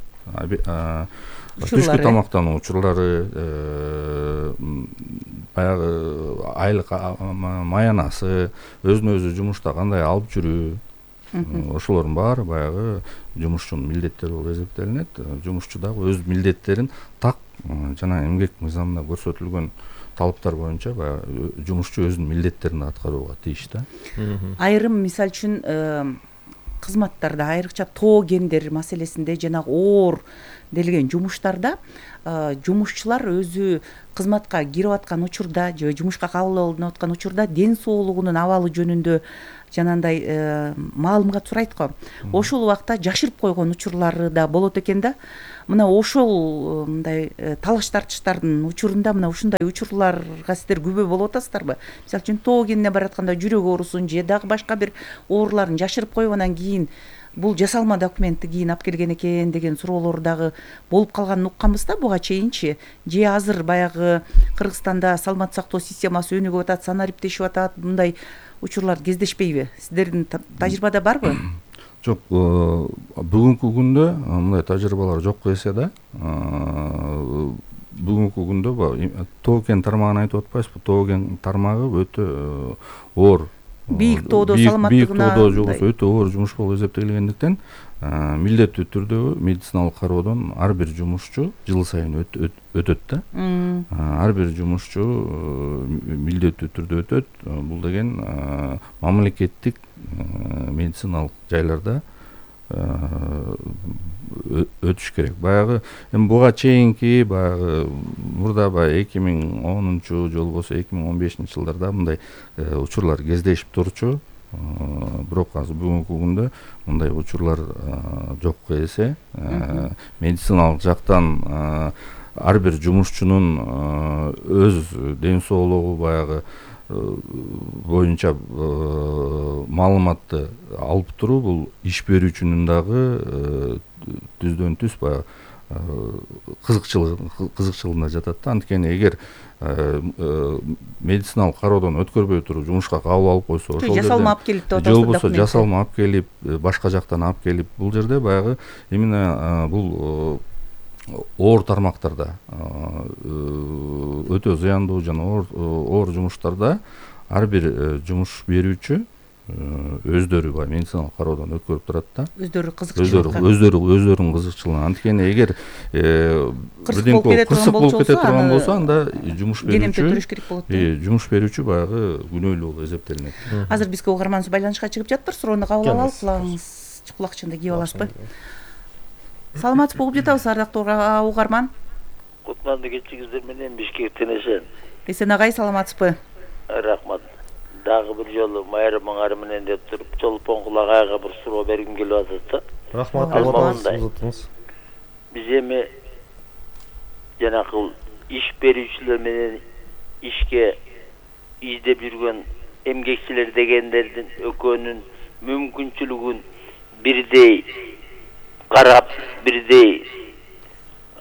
түшкү тамактануу учурлары, баягы айлык маянасы, өзүнө өзү жумушта кандай алып жүрүү, ошолордун баары баягы жумушчунун милдеттери болуп эсептелинет. Жумушчу дагы өз милдеттерин так жана эмгек мыйзамында көрсөтүлгөн талаптар боюнча баягы жумушчу өзүнүн милдеттерин аткарууга тийиш да. Айрым мисал үчүн кызматтарда, айрыкча тоо кендер маселесинде жанагы оор делген жумуштарда жумушчулар өзү кызматка кирип аткан учурда же жумушка кабыл алынып аткан учурда ден соолугунун абалы жөнүндө жанагындай маалымат сурайт го. Ошол убакта жашырып койгон учурлары да болот экен да. Мына ошол мындай талаш тартыштардын учурунда мына ушундай учурларга сиздер күбө болуп атасыздарбы? Мисалы үчүн тоо кенине баратканда жүрөк оорусун же дагы башка бир ооруларын жашырып коюп анан кийин бул жасалма документти кийин алып келген экен деген суроолор дагы болуп калганын укканбыз да буга чейинчи. Же азыр баягы Кыргызстанда саламаттык сактоо системасы өнүгүп атат, санариптешип атат, мындай учурлар кездешпейби? Сиздердин тажрыйбада барбы? Жок, бүгүнкү күндө мындай тажрыйбалар жок эсе да. Бүгүнкү күндө тоо кен тармагын айтып атпайсызбы? Тоо кен тармагы өтө оор. Бийик тоодо саламаттыгына бийик тоодо жобосу өтө оор жумуш болуп эсептелгендиктен милдеттүү түрдө медициналык кароодон ар бир жумушчу жыл сайын өтөт да. Ар бир жумушчу милдеттүү түрдө өтөт. Бул деген мамлекеттик медициналык жайларда өтүш керек. Баягы эми буга чейинки баягы мурда баягы эки миң онунчу же болбосо эки миң он бешинчи жылдарда мындай учурлар кездешип турчу. Бирок азыр бүгүнкү күндө мындай учурлар жок эсе. Медициналык жактан ар бир жумушчунун өз ден соолугу баягы боюнча маалыматты алып туруу бул иш берүүчүнүн дагы түздөн түз баягы кызыкчылыгына жатат да. Анткени эгер медициналык кароодон өткөрбөй туруп жумушка кабыл алып койсо, ошол жасалма алып келип деп атасызбы, же болбосо жасалма алып келип, башка жактан алып келип, бул жерде баягы именно бул оор тармактарда өтө зыяндуу жана оор жумуштарда ар бир жумуш берүүчү өздөрү баягы медициналык кароодон өткөрүп турат да. Өздөрү кызыкчылыкка. Өздөрү өздөрүнүн кызыкчылыгына. Анткени эгер кырсык болуп кете турган болсо, анда жумуш берүүчү кенемде туруш керек болот. Жумуш берүүчү баягы күнөөлүү болуп эсептелинет. Азыр бизге угарманыбыз байланышка чыгып жатыптыр. Суроону кабыл алалы, кулагыңыз кулакчынды кийип аласызбы? Саламатсызбы, угуп жатабыз ардактуу угарман. Кутманды кечигиздер менен Бишкектен эсен. Эсен агай, саламатсызбы? Рахмат. Дагы бир жолу майрамың ары менен деп туруп, Чолпон Кулагайга бир суроо бергим келип атат да. Рахмат, албагындай. Биз эми жанакыл иш берүүчүлөр менен ишке издеп жүргөн эмгекчилер дегендердин экөөнүн мүмкүнчүлүгүн бирдей карап, бирдей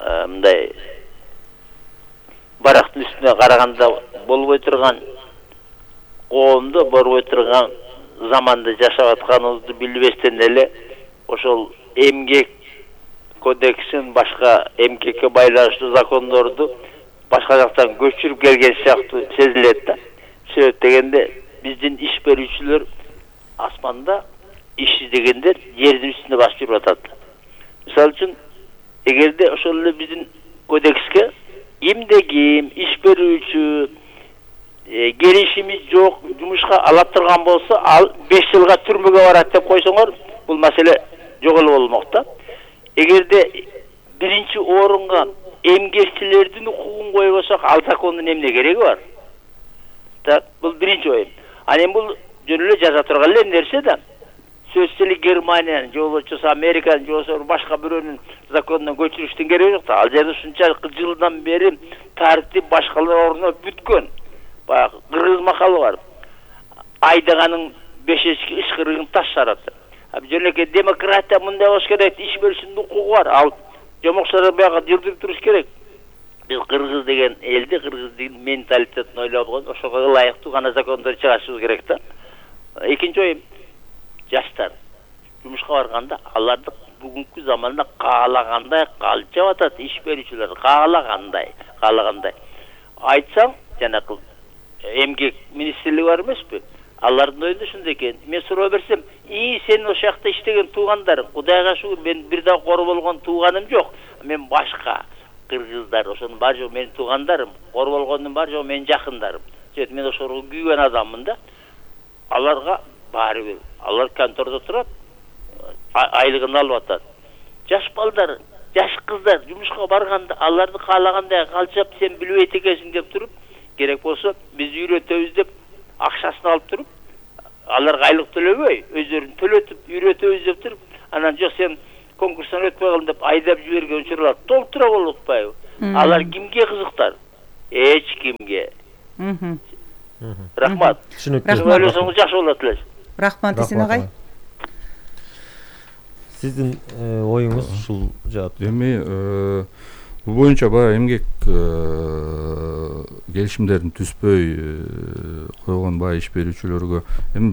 мындай барактын үстүнө караганда болбой турган, коомдо болбой турган заманда жашап атканыбызды билбестен эле ошол эмгек кодексин, башка эмгекке байланыштуу закондорду башка жактан көчүрүп келген сыяктуу сезилет да. Себеп дегенде биздин иш берүүчүлөр асманда иш издегендер жердин үстүндө басып жүрүп атат. Мисалы үчүн, эгерде ошол эле биздин кодекске кимде ким иш берүүчү келишими жок жумушка ала турган болсо, ал беш жылга түрмөгө барат деп койсоңор, бул маселе жок эле болмок да. Эгерде биринчи орунга эмгекчилердин укугун койбосок, ал закондун эмне кереги бар? Так, бул биринчи оюм. Анан эми бул жөн эле жаза турган эле нерсе да. Сөзсүз эле Германиянын, же болбосо Американын, же болбосо башка бирөөнүн законуна көчүрүштүн кереги жок да. Ал жерде ушунчалык жылдан бери тартип башкалар орнуп бүткөн. Баягы кыргыз макалы бар. Айдаганын бешечки ышкырыгын таш жарат. Жөнөкөй демократия мындай болуш керек, иш берүүчүнүн укугу бар. Ал жомокчолор баягы жылдырып туруш керек. Биз кыргыз деген элди, кыргыздын менталитетин ойлоп койгон, ошого ылайыктуу гана закондор чыгарышыбыз керек да. Экинчи оюм, жаштар жумушка барганда аларды бүгүнкү заманда каалагандай калчап атат, иш берүүчүлөр каалагандай, каалагандай. Айтсаң, жанакы эмгек министрлиги бар эмеспи? Алардын оюнда ушундай экен. Мен суроо берсем, "И, сен ошол жакта иштеген туугандарың, Кудайга шүгүр, мен бир да кор болгон тууганым жок. Мен башка кыргыздар, ошонун бар жок менин туугандарым, кор болгондун бар жок менин жакындарым. Себеп мен ошого күйгөн адаммын да." Аларга баары бир. Алар контордо турат, айлыгын алып атат. Жаш балдар, жаш кыздар жумушка барганда аларды каалагандай калчап сен билбейт экенсиң деп туруп, керек болсо биз үйрөтөбүз деп акчасын алып туруп, аларга айлык төлөбөй, өздөрүн төлөтүп үйрөтөбүз деп туруп, анан жок сен конкурстан өтпөй калдың деп айдап жиберген учурлар толтура болуппайбы? Алар кимге кызыктар? Эч кимге. Рахмат. Түшүнүктүү. Ойлосоңуз жакшы болот эле. Рахмат Эсен агай. Сиздин оюңуз ушул жаат. Эми бул боюнча баягы эмгек келишимдерин түзбөй койгон баягы иш берүүчүлөргө эми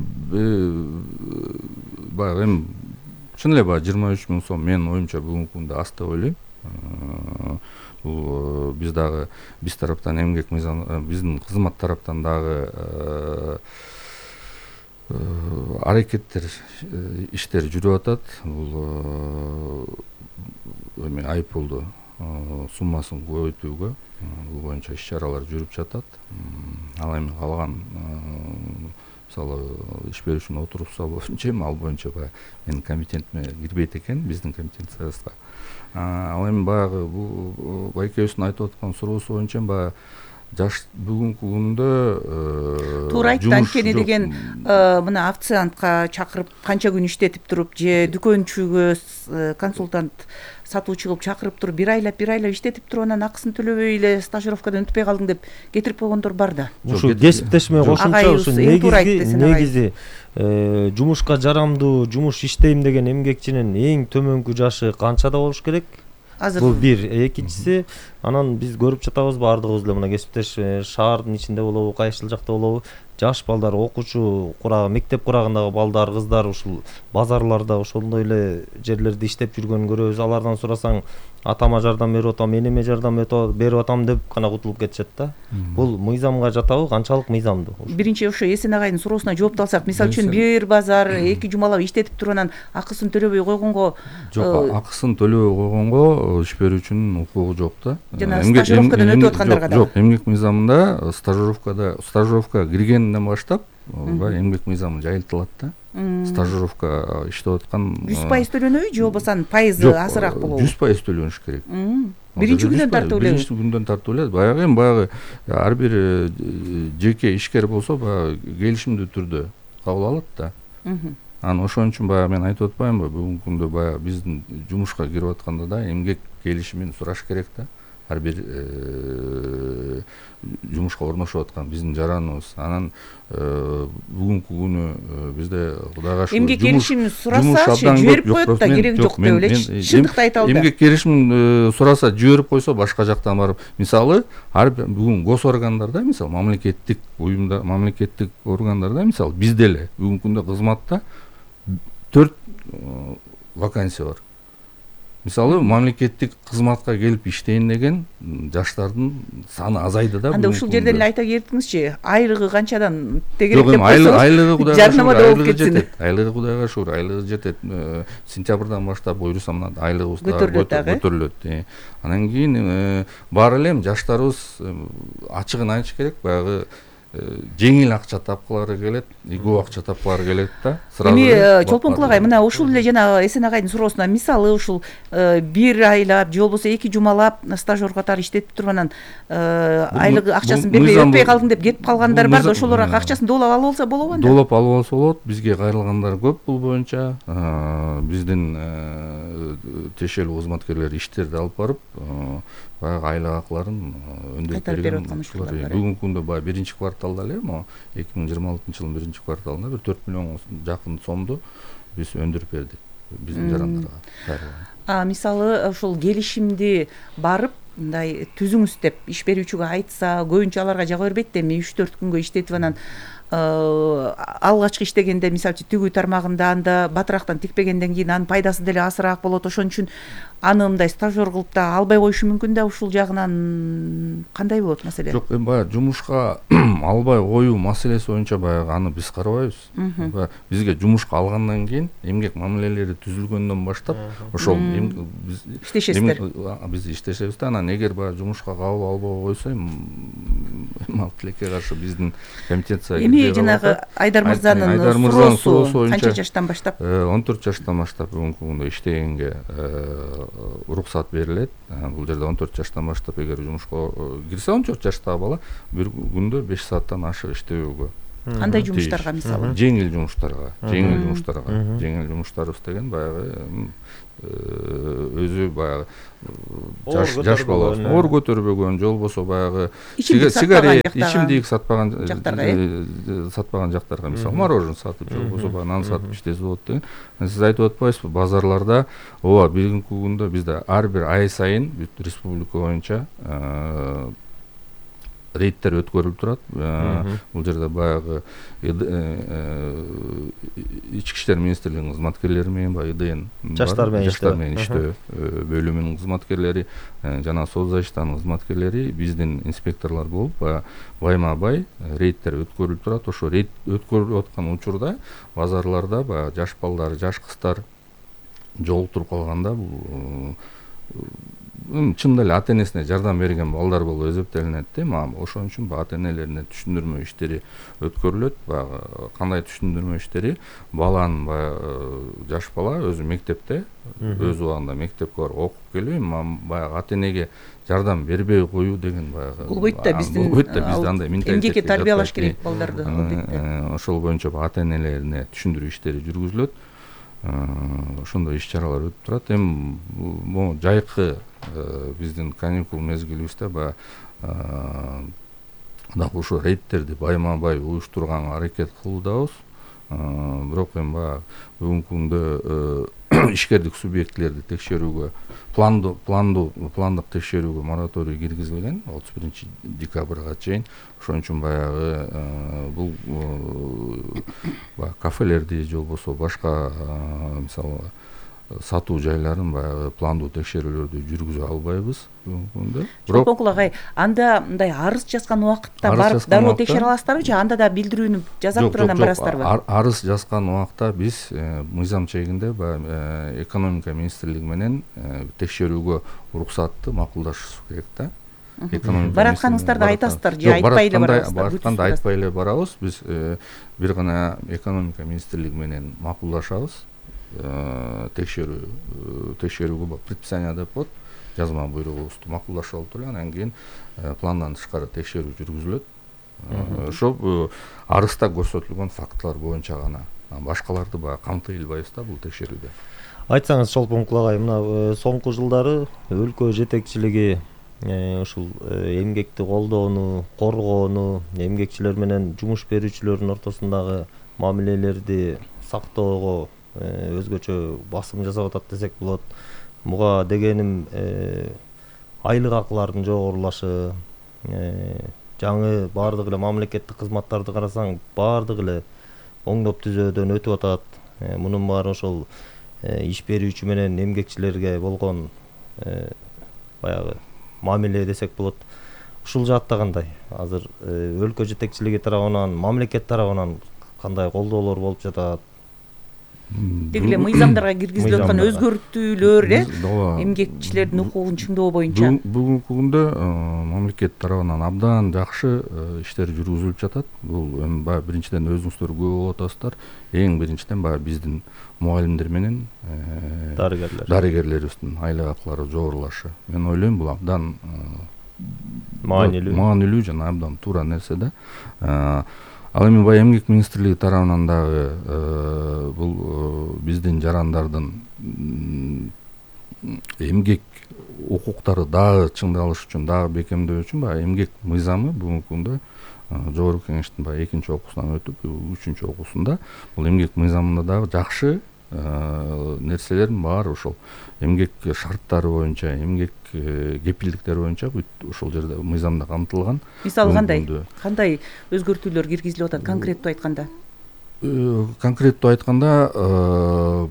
баягы эми чын эле баягы жыйырма үч миң сом менин оюмча бүгүнкү күндө аз деп ойлойм. Бул биз дагы биз тараптан эмгек мыйзам биздин кызмат тараптан дагы аракеттер иштер жүрүп атат. Бул эми айыппулду суммасын көбөйтүүгө бул боюнча иш чаралар жүрүп жатат. Ал эми калган мисалы иш берүүчүнүн отурусу боюнча эми ал боюнча баягы менин компетентиме кирбейт экен, биздин компетенциябызга. Ал эми баягы бул байкебиздин айтып аткан суроосу боюнча баягы жаш бүгүнкү күндө туура айтты. Анткени деген мына официантка чакырып канча күн иштетип туруп же дүкөнчүгө консультант сатуучу кылып чакырып туруп бир айлап бир айлап иштетип туруп анан акысын төлөбөй эле стажировкадан өтпөй калдың деп кетирип койгондор бар да. Ушу кесиптешме кошумча ушу негизги негизи жумушка жарамдуу жумуш иштейм деген эмгекчинин эң төмөнкү жашы канчада болуш керек? Азыр бул бир. Экинчиси, анан биз көрүп жатабыз баардыгыбыз эле мына кесиптеш шаардын ичинде болобу, кайсыл жакта болобу, жаш балдар, окуучу курагы, мектеп курагындагы балдар, кыздар ушул базарларда ошондой эле жерлерде иштеп жүргөнүн көрөбүз. Алардан сурасаң, атама жардам берип атам, энеме жардам берип атам деп гана кутулуп кетишет да. Бул мыйзамга жатабы, канчалык мыйзамдуу? Биринчи ошо Эсен агайдын суроосуна жооп алсак, мисалы үчүн бир базар эки жумалап иштетип туруп анан акысын төлөбөй койгонго, жок, акысын төлөбөй койгонго иш берүүчүнүн укугу жок да. Жана стажировкадан өтүп аткандарга да. Жок, эмгек мыйзамында стажировкада стажировка киргенден баштап баягы эмгек мыйзамы жайылтылат да. Стажировка иштеп аткан жүз пайыз төлөнөбү же болбосо пайызы азыраак болобу? жүз пайыз төлөнүш керек. Биринчи күндөн тартып эле. Биринчи күндөн тартып эле. Баягы эми баягы ар бир жеке ишкер болсо баягы келишимдүү түрдө кабыл алат да. Анан ошон үчүн баягы мен айтып атпаймынбы, бүгүнкү күндө баягы биздин жумушка кирип атканда да эмгек келишимин сураш керек да. Ар бир жумушка орношуп аткан биздин жараныбыз. Анан бүгүнкү күнү бизде Кудайга шүгүр эмгек келишимин сураса жиберип коет да, кереги жок деп элечи. Чындыкты айталы да. Эмгек келишимин сураса жиберип койсо башка жактан барып, мисалы, ар бүгүн гос органдарда, мисалы, мамлекеттик уюмда, мамлекеттик органдарда, мисалы, бизде эле бүгүнкү күндө кызматта төрт вакансия бар. Мисалы, мамлекеттик кызматка келип иштейин деген жаштардын саны азайды да. Анда ушул жерден эле айта кетиңизчи, айлыгы канчадан тегерек деп койсоңуз? Айлыгы Кудайга шүгүр жетет. Айлыгы Кудайга шүгүр, айлыгы жетет. Сентябрдан баштап буйруса мына айлыгыбыз көтөрүлөт. Анан кийин бар эле жаштарыбыз ачыгын айтыш керек, баягы жеңил акча тапкылары келет, игүү акча тапкылары келет да. Эми Чолпон агай, мына ушул эле жана Эсен агайдын суроосуна мисалы ушул бир айлап же болбосо эки жумалап стажёр катары иштетип туруп анан айлыгы акчасын бербей өтпөй калдың деп кетип калгандар бар да, ошолорго акчасын доолап алып алса болобу анда? Доолап алып алса болот. Бизге кайрылгандар көп бул боюнча. Биздин тиешелүү кызматкерлер иштерди алып барып, баягы айлык акыларын өндөрүп берген. Бүгүнкү күндө баягы биринчи кварталда эле, могу эки миң жыйырма алтынчы жылдын биринчи кварталында бир төрт миллионго жакын сомду биз өндүрүп бердик биздин жарандарга. А мисалы ушул келишимди барып мындай түзүңүз деп иш берүүчүгө айтса, көбүнчө аларга жага бербейт да. Эми үч төрт күнгө иштетип анан алгачкы иштегенде мисалы үчүн тигүү тармагында анда батырактан тикпегенден кийин анын пайдасы деле азыраак болот. Ошон үчүн аны мындай стажёр кылып да албай коюшу мүмкүн да. Ушул жагынан кандай болот маселе? Жок, эми баягы жумушка албай коюу маселеси боюнча баягы аны биз карабайбыз. Бизге жумушка алгандан кийин эмгек мамилелери түзүлгөндөн баштап ошол иштешесиздер. Биз иштешебиз да. Анан эгер баягы жумушка кабыл албай койсо ал тилекке каршы биздин компетенция эми жанагы Айдар мырзанын суроосу канча жаштан баштап? он төрт жаштан баштап бүгүнкү күндө иштегенге уруксат берилет. Бул жерде он төрт жаштан баштап эгер жумушка кирсе он төрт жаштагы бала бир күндө беш сааттан ашык иштебөөгө. Кандай жумуштарга мисалы? Жеңил жумуштарга, жеңил жумуштарга, жеңил жумуштарыбыз деген баягы өзү баягы жаш жаш бала оор көтөрбөгөн же болбосо баягы сигарет, ичимдик сатпаган жактарга, сатпаган жактарга, мисалы мороженое сатып же болбосо баягы нан сатып иштесе болот деген. Сиз айтып атпайсызбы, базарларда ооба бүгүнкү күндө бизде ар бир ай сайын бүт республика боюнча рейдтер өткөрүлүп турат. Бул жерде баягы ички иштер министрлигинин кызматкерлери менен баягы ИДН жаштар менен иштөө бөлүмүнүн кызматкерлери жана соцзащитанын кызматкерлери биздин инспекторлор болуп байма бай рейдтер өткөрүлүп турат. Ошо рейд өткөрүлүп аткан учурда базарларда баягы жаш балдар, жаш кыздар жолуктуруп калганда бул чындап эле ата энесине жардам берген балдар болуп эсептелинет да. Ошон үчүн ата энелерине түшүндүрмө иштери өткөрүлөт. Баягы кандай түшүндүрмө иштери? Баланын баягы жаш бала өзү мектепте, өз убагында мектепке барып окуп келбей, баягы ата энеге жардам бербей коюу деген баягы болбойт да. Биздин болбойт да, бизде андай менталитет. Эмгекке тарбиялаш керек балдарды албетте. Ошол боюнча ата энелерине түшүндүрүү иштери жүргүзүлөт. Ошондой иш чаралар өтүп турат. Эми могу жайкы биздин каникул мезгилибизде баягы дагы ошо рейдтерди байма бай уюштурганга аракет кылуудабыз. Бирок эми баягы бүгүнкү күндө ишкердик субъектилерди текшерүүгө пландуу пландуу пландык текшерүүгө мораторий киргизилген отуз биринчи декабрга чейин. Ошон үчүн баягы бул баягы кафелерди же болбосо башка мисалы сатуу жайларын баягы пландуу текшерүүлөрдү жүргүзө албайбыз бүгүнкү күндө. Бирок Чолпон агай, анда мындай арыз жазган убакытта барып дароо текшере аласыздарбы же анда да билдирүүнү жазап туруп анан барасыздарбы? Арыз жазган убакта биз мыйзам чегинде баягы экономика министрлиги менен текшерүүгө уруксатты макулдашыбыз керек да. Баратканыңыздарды айтасыздар же айтпай эле барасыздар? Баратканда айтпай эле барабыз. Биз бир гана экономика министрлиги менен макулдашабыз. Текшерүү текшерүүгө предписание деп коет. Жазма буйругубузду макулдашып алып туруп анан кийин пландан тышкары текшерүү жүргүзүлөт. Ошо арызда көрсөтүлгөн фактылар боюнча гана. Башкаларды баягы камтый албайбыз да бул текшерүүдө. Айтсаңыз Чолпон агай, мына соңку жылдары өлкө жетекчилиги ушул эмгекти колдоону, коргоону, эмгекчилер менен жумуш берүүчүлөрдүн ортосундагы мамилелерди сактоого өзгөчө басым жасап атат десек болот. Буга дегеним айлык акылардын жогорулашы, жаңы баардык эле мамлекеттик кызматтарды карасаң баардык эле оңдоп түзөөдөн өтүп атат. Мунун баары ошол иш берүүчү менен эмгекчилерге болгон баягы мамиле десек болот. Ушул жаатта кандай? Азыр өлкө жетекчилиги тарабынан, мамлекет тарабынан кандай колдоолор болуп жатат? Деги эле мыйзамдарга киргизилип аткан өзгөртүүлөр эмгекчилердин укугун чыңдоо боюнча бүгүнкү күндө мамлекет тарабынан абдан жакшы иштер жүргүзүлүп жатат. Бул эми баягы биринчиден өзүңүздөр күбө болуп атасыздар. Эң биринчиден баягы биздин мугалимдер менен дарыгерлер дарыгерлерибиздин айлык акылары жогорулашы. Мен ойлойм бул абдан маанилүү маанилүү жана абдан туура нерсе да. Ал эми баягы эмгек министрлиги тарабынан дагы бул биздин жарандардын эмгек укуктары дагы чыңдалыш үчүн, дагы бекемдөө үчүн баягы эмгек мыйзамы бүгүнкү күндө жогорку кеңештин баягы экинчи окуусунан өтүп, үчүнчү окуусунда бул эмгек мыйзамында дагы жакшы нерселердин баары ошол эмгек шарттары боюнча, эмгек кепилдиктери боюнча бүт ошол жерде мыйзамда камтылган. Мисалы кандай кандай өзгөртүүлөр киргизилип атат конкреттүү айтканда? Конкреттүү айтканда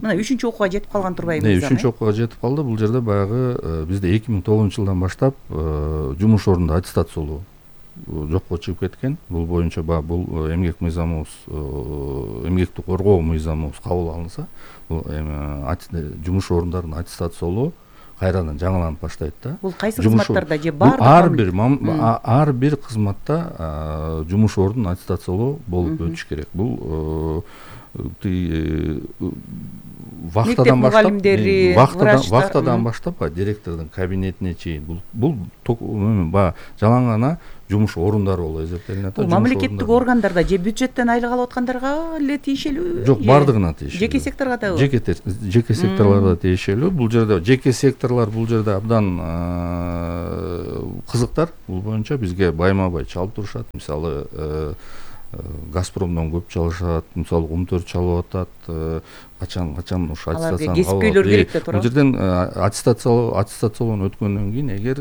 мына үчүнчү окууга жетип калган турбайбы мыйзам? үчүнчү окууга жетип калды. Бул жерде баягы бизде эки миң тогузунчу жылдан баштап жумуш орнунда аттестациялоо жокко чыгып кеткен. Бул боюнча баягы бул эмгек мыйзамыбыз, эмгекти коргоо мыйзамыбыз кабыл алынса, бул эми жумуш орундарын аттестациялоо кайрадан жаңыланып баштайт да. Бул кайсы Жумуш кызматтарда же бул баардык? ар бир мам- а- ар бир кызматта жумуш ордун аттестациялоо болуп өтүш керек. Бул вахтадан баштап, мугалимдери, вахтадан врачтар, вахтадан мм. баштап баягы директордун кабинетине чейин бул бул ток- эме, баягы жалаң гана жумуш орундары болуп эсептелинет. Бул мамлекеттик органдарда же бюджеттен айлык алып аткандарга эле тиешелүү? Жок, же бардыгына тиешелүү. Жеке секторго дабы? Жеке те- жеке секторлорго тиешелүү. Бул жерде жеке секторлор бул жерде абдан кызыктар. Бул боюнча бизге байма бай чалып турушат. Мисалы Газпромдон көп чалышат, мисалы ум төрт чалып атат, качан качан ушу аттестацияны кесипкөйлөр керек да туурабы? Бул жерден аттестациялоо аттестациялоону өткөндөн кийин эгер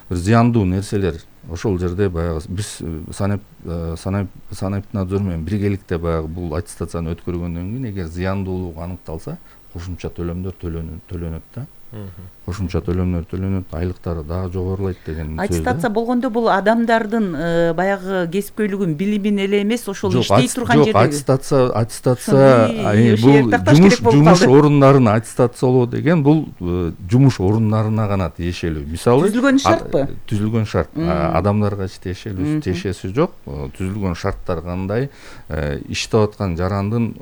бир зыяндуу нерселер ошол жерде баягы биз санап санап санэпиднадзор менен биргеликте баягы бул аттестацияны өткөргөндөн кийин эгер зыяндуулук аныкталса кошумча төлөмдөр төлөнөт да. Кошумча төлөмдөр төлөнөт, айлыктары дагы жогорулайт деген сөз. Аттестация болгондо бул адамдардын баягы кесипкөйлүгүн, билимин эле эмес, ошол иштей турган Жок, жердеги. аттестация аттестация Ошону бул такташ жумуш керек болуп жумуш калды. орундарын аттестациялоо деген бул жумуш орундарына гана тиешелүү. Мисалы Түзүлгөн шартпы? Түзүлгөн шарт. Адамдарга тиешелүү тиешеси жок. Түзүлгөн шарттар кандай, иштеп аткан жарандын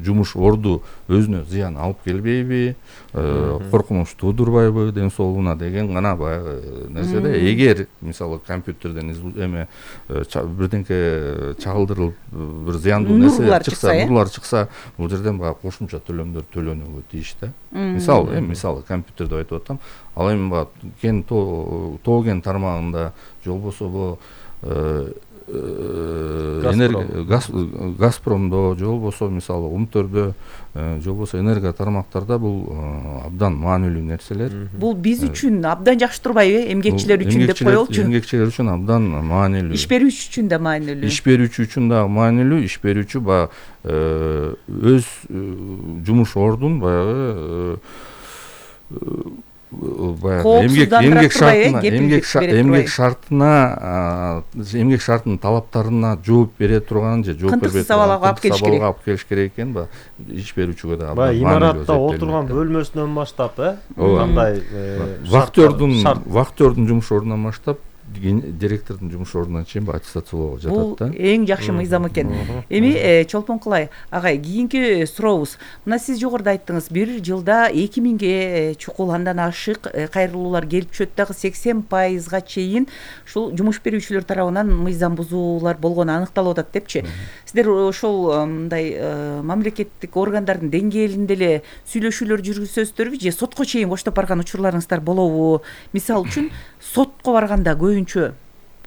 жумуш орду өзүнө зыян алып келбейби, коркунуч туудурбайбы ден соолугуна деген гана баягы нерседе. Эгер мисалы компьютерден эме бирденке чагылдырылып бир зыяндуу нерсе чыкса, нурлар чыкса, бул жерден баягы кошумча төлөмдөр төлөнүүгө тийиш да. Мисалы, эми мисалы компьютерде айтып атам, ал эми баягы кен тоо кен тармагында же болбосо энергия Газпромдо же болбосо мисалы ум төрдө же болбосо энергия тармактарда бул абдан маанилүү нерселер. Бул биз үчүн абдан жакшы турбайбы? Эмгекчилер үчүн деп коелучу. Эмгекчилер үчүн абдан маанилүү. Иш берүүчү үчүн да маанилүү. Иш берүүчү үчүн да маанилүү. Иш берүүчү баягы өз жумуш ордун баягы эмгек эмгек шартына эмгек эмгек шартына эмгек шартынын талаптарына жооп бере турган же жооп бербей турган алып келиш керек. алып келиш керек экен. Баягы иш берүүчүгө да баягы имаратта отурган бөлмөсүнөн баштап, э кандай вахтердун вахтердун жумуш ордунан баштап директордун жумуш ордуна чейин аттестациялоого жатат да. Бул эң жакшы мыйзам экен. Эми Чолпонкулай агай, кийинки сурообуз. Мына сиз жогоруда айттыңыз, бир жылда эки миңге чукул андан ашык кайрылуулар келип түшөт, дагы сексен пайызга чейин ушул жумуш берүүчүлөр тарабынан мыйзам бузуулар болгону аныкталып атат депчи. Сиздер ошол мындай мамлекеттик органдардын деңгээлинде эле сүйлөшүүлөр жүргүзөсүздөрбү же сотко чейин коштоп барган учурларыңыздар болобу? Мисалы үчүн сотко барганда көбүнчө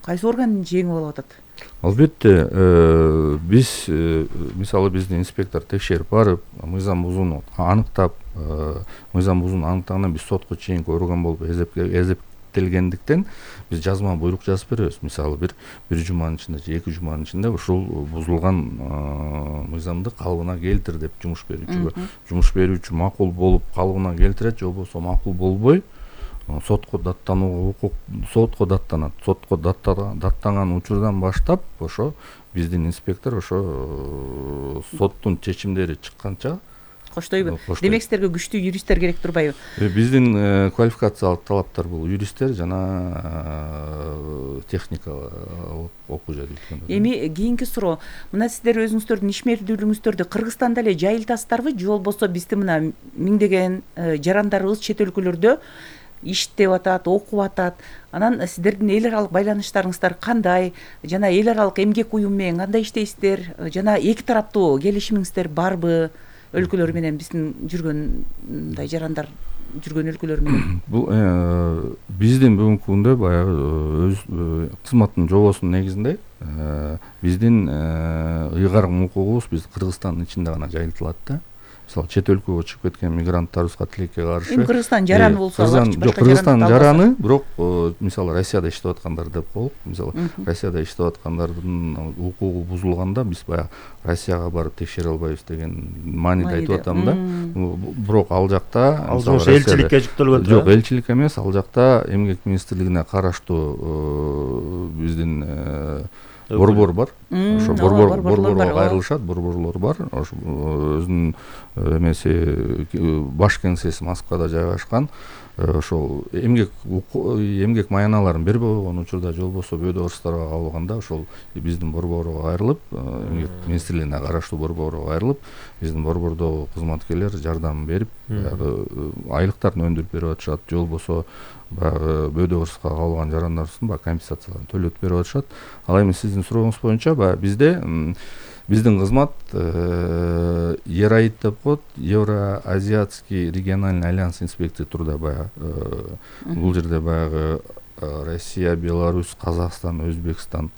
кайсы орган жеңип алып атат? Албетте, биз мисалы биздин инспектор текшерип барып, мыйзам бузууну аныктап, мыйзам бузууну аныктагандан биз сотко чейинки орган болуп эсептелгендиктен биз жазма буйрук жазып беребиз. Мисалы бир бир жуманын ичинде же эки жуманын ичинде ушул бузулган мыйзамды калыбына келтир деп жумуш берүүчүгө. Жумуш берүүчү макул болуп калыбына келтирет, же болбосо макул болбой сотко даттанууга укук сотко даттанат. Сотко даттанган учурдан баштап ошо биздин инспектор ошо соттун чечимдери чыкканча коштойбу. Демек сиздерге күчтүү юристтер керек турбайбы? Биздин квалификациялык талаптар бул юристтер жана техника окуу жайы. Эми кийинки суроо. Мына сиздер өзүңүздөрдүн ишмердүүлүгүңүздөрдү Кыргызстанда эле жайылтасыздарбы же болбосо биздин мына миңдеген жарандарыбыз чет өлкөлөрдө иштеп атат, окуп атат. Анан сиздердин эл аралык байланыштарыңыздар кандай? Жана эл аралык эмгек уюм менен кандай иштейсиздер? Жана эки тараптуу келишимиңиздер барбы? Өлкөлөр менен биздин жүргөн мындай жарандар жүргөн өлкөлөр менен. Бул биздин бүгүнкү күндө баягы өз кызматтын жобосунун негизинде биздин ыйгарым укугубуз биз Кыргызстандын ичинде гана жайылтылат да. Мисалы чет өлкөгө чыгып кеткен мигранттарыбызга тилекке каршы. Эми Кыргызстан жараны болсо, жок, Кыргызстан жараны, бирок мисалы Россияда иштеп аткандар деп коелук. Мисалы Россияда иштеп аткандардын укугу бузулганда биз баягы Россияга барып текшере албайбыз деген мааниде айтып атам да. Бирок ал жакта ал элчиликке жүктөлгөн. Жок, элчилик эмес, ал жакта эмгек министрлигине караштуу биздин борбор бар. Ошо ооба, борбор борборлор бар, борборго ооба. кайрылышат, борборлор бар. Ошо өзүнүн э, эмеси э, баш кеңсеси Москвада жайгашкан. Э, Ошол эмгек уку- эмгек маяналарын бербей койгон учурда же болбосо бөөдө кырсыздарга кабылганда ошол биздин борборго кайрылып, э, эмгек министрлигине караштуу борборго кайрылып, биздин борбордогу кызматкерлер жардам берип, баягы э, айлыктарын өндүрүп берип атышат, же болбосо баягы бөөдө кырсызга кабылган жарандарыбыздын баягы компенсацияларын төлөп берип атышат. Ал эми сиздин сурооңуз боюнча баягы бизде м, биздин кызмат э, ЕРАИД деп коет, Евроазиатский региональный альянс инспекция турда баягы э, бул жерде баягы э, Россия, Беларусь, Казакстан, Өзбекстан,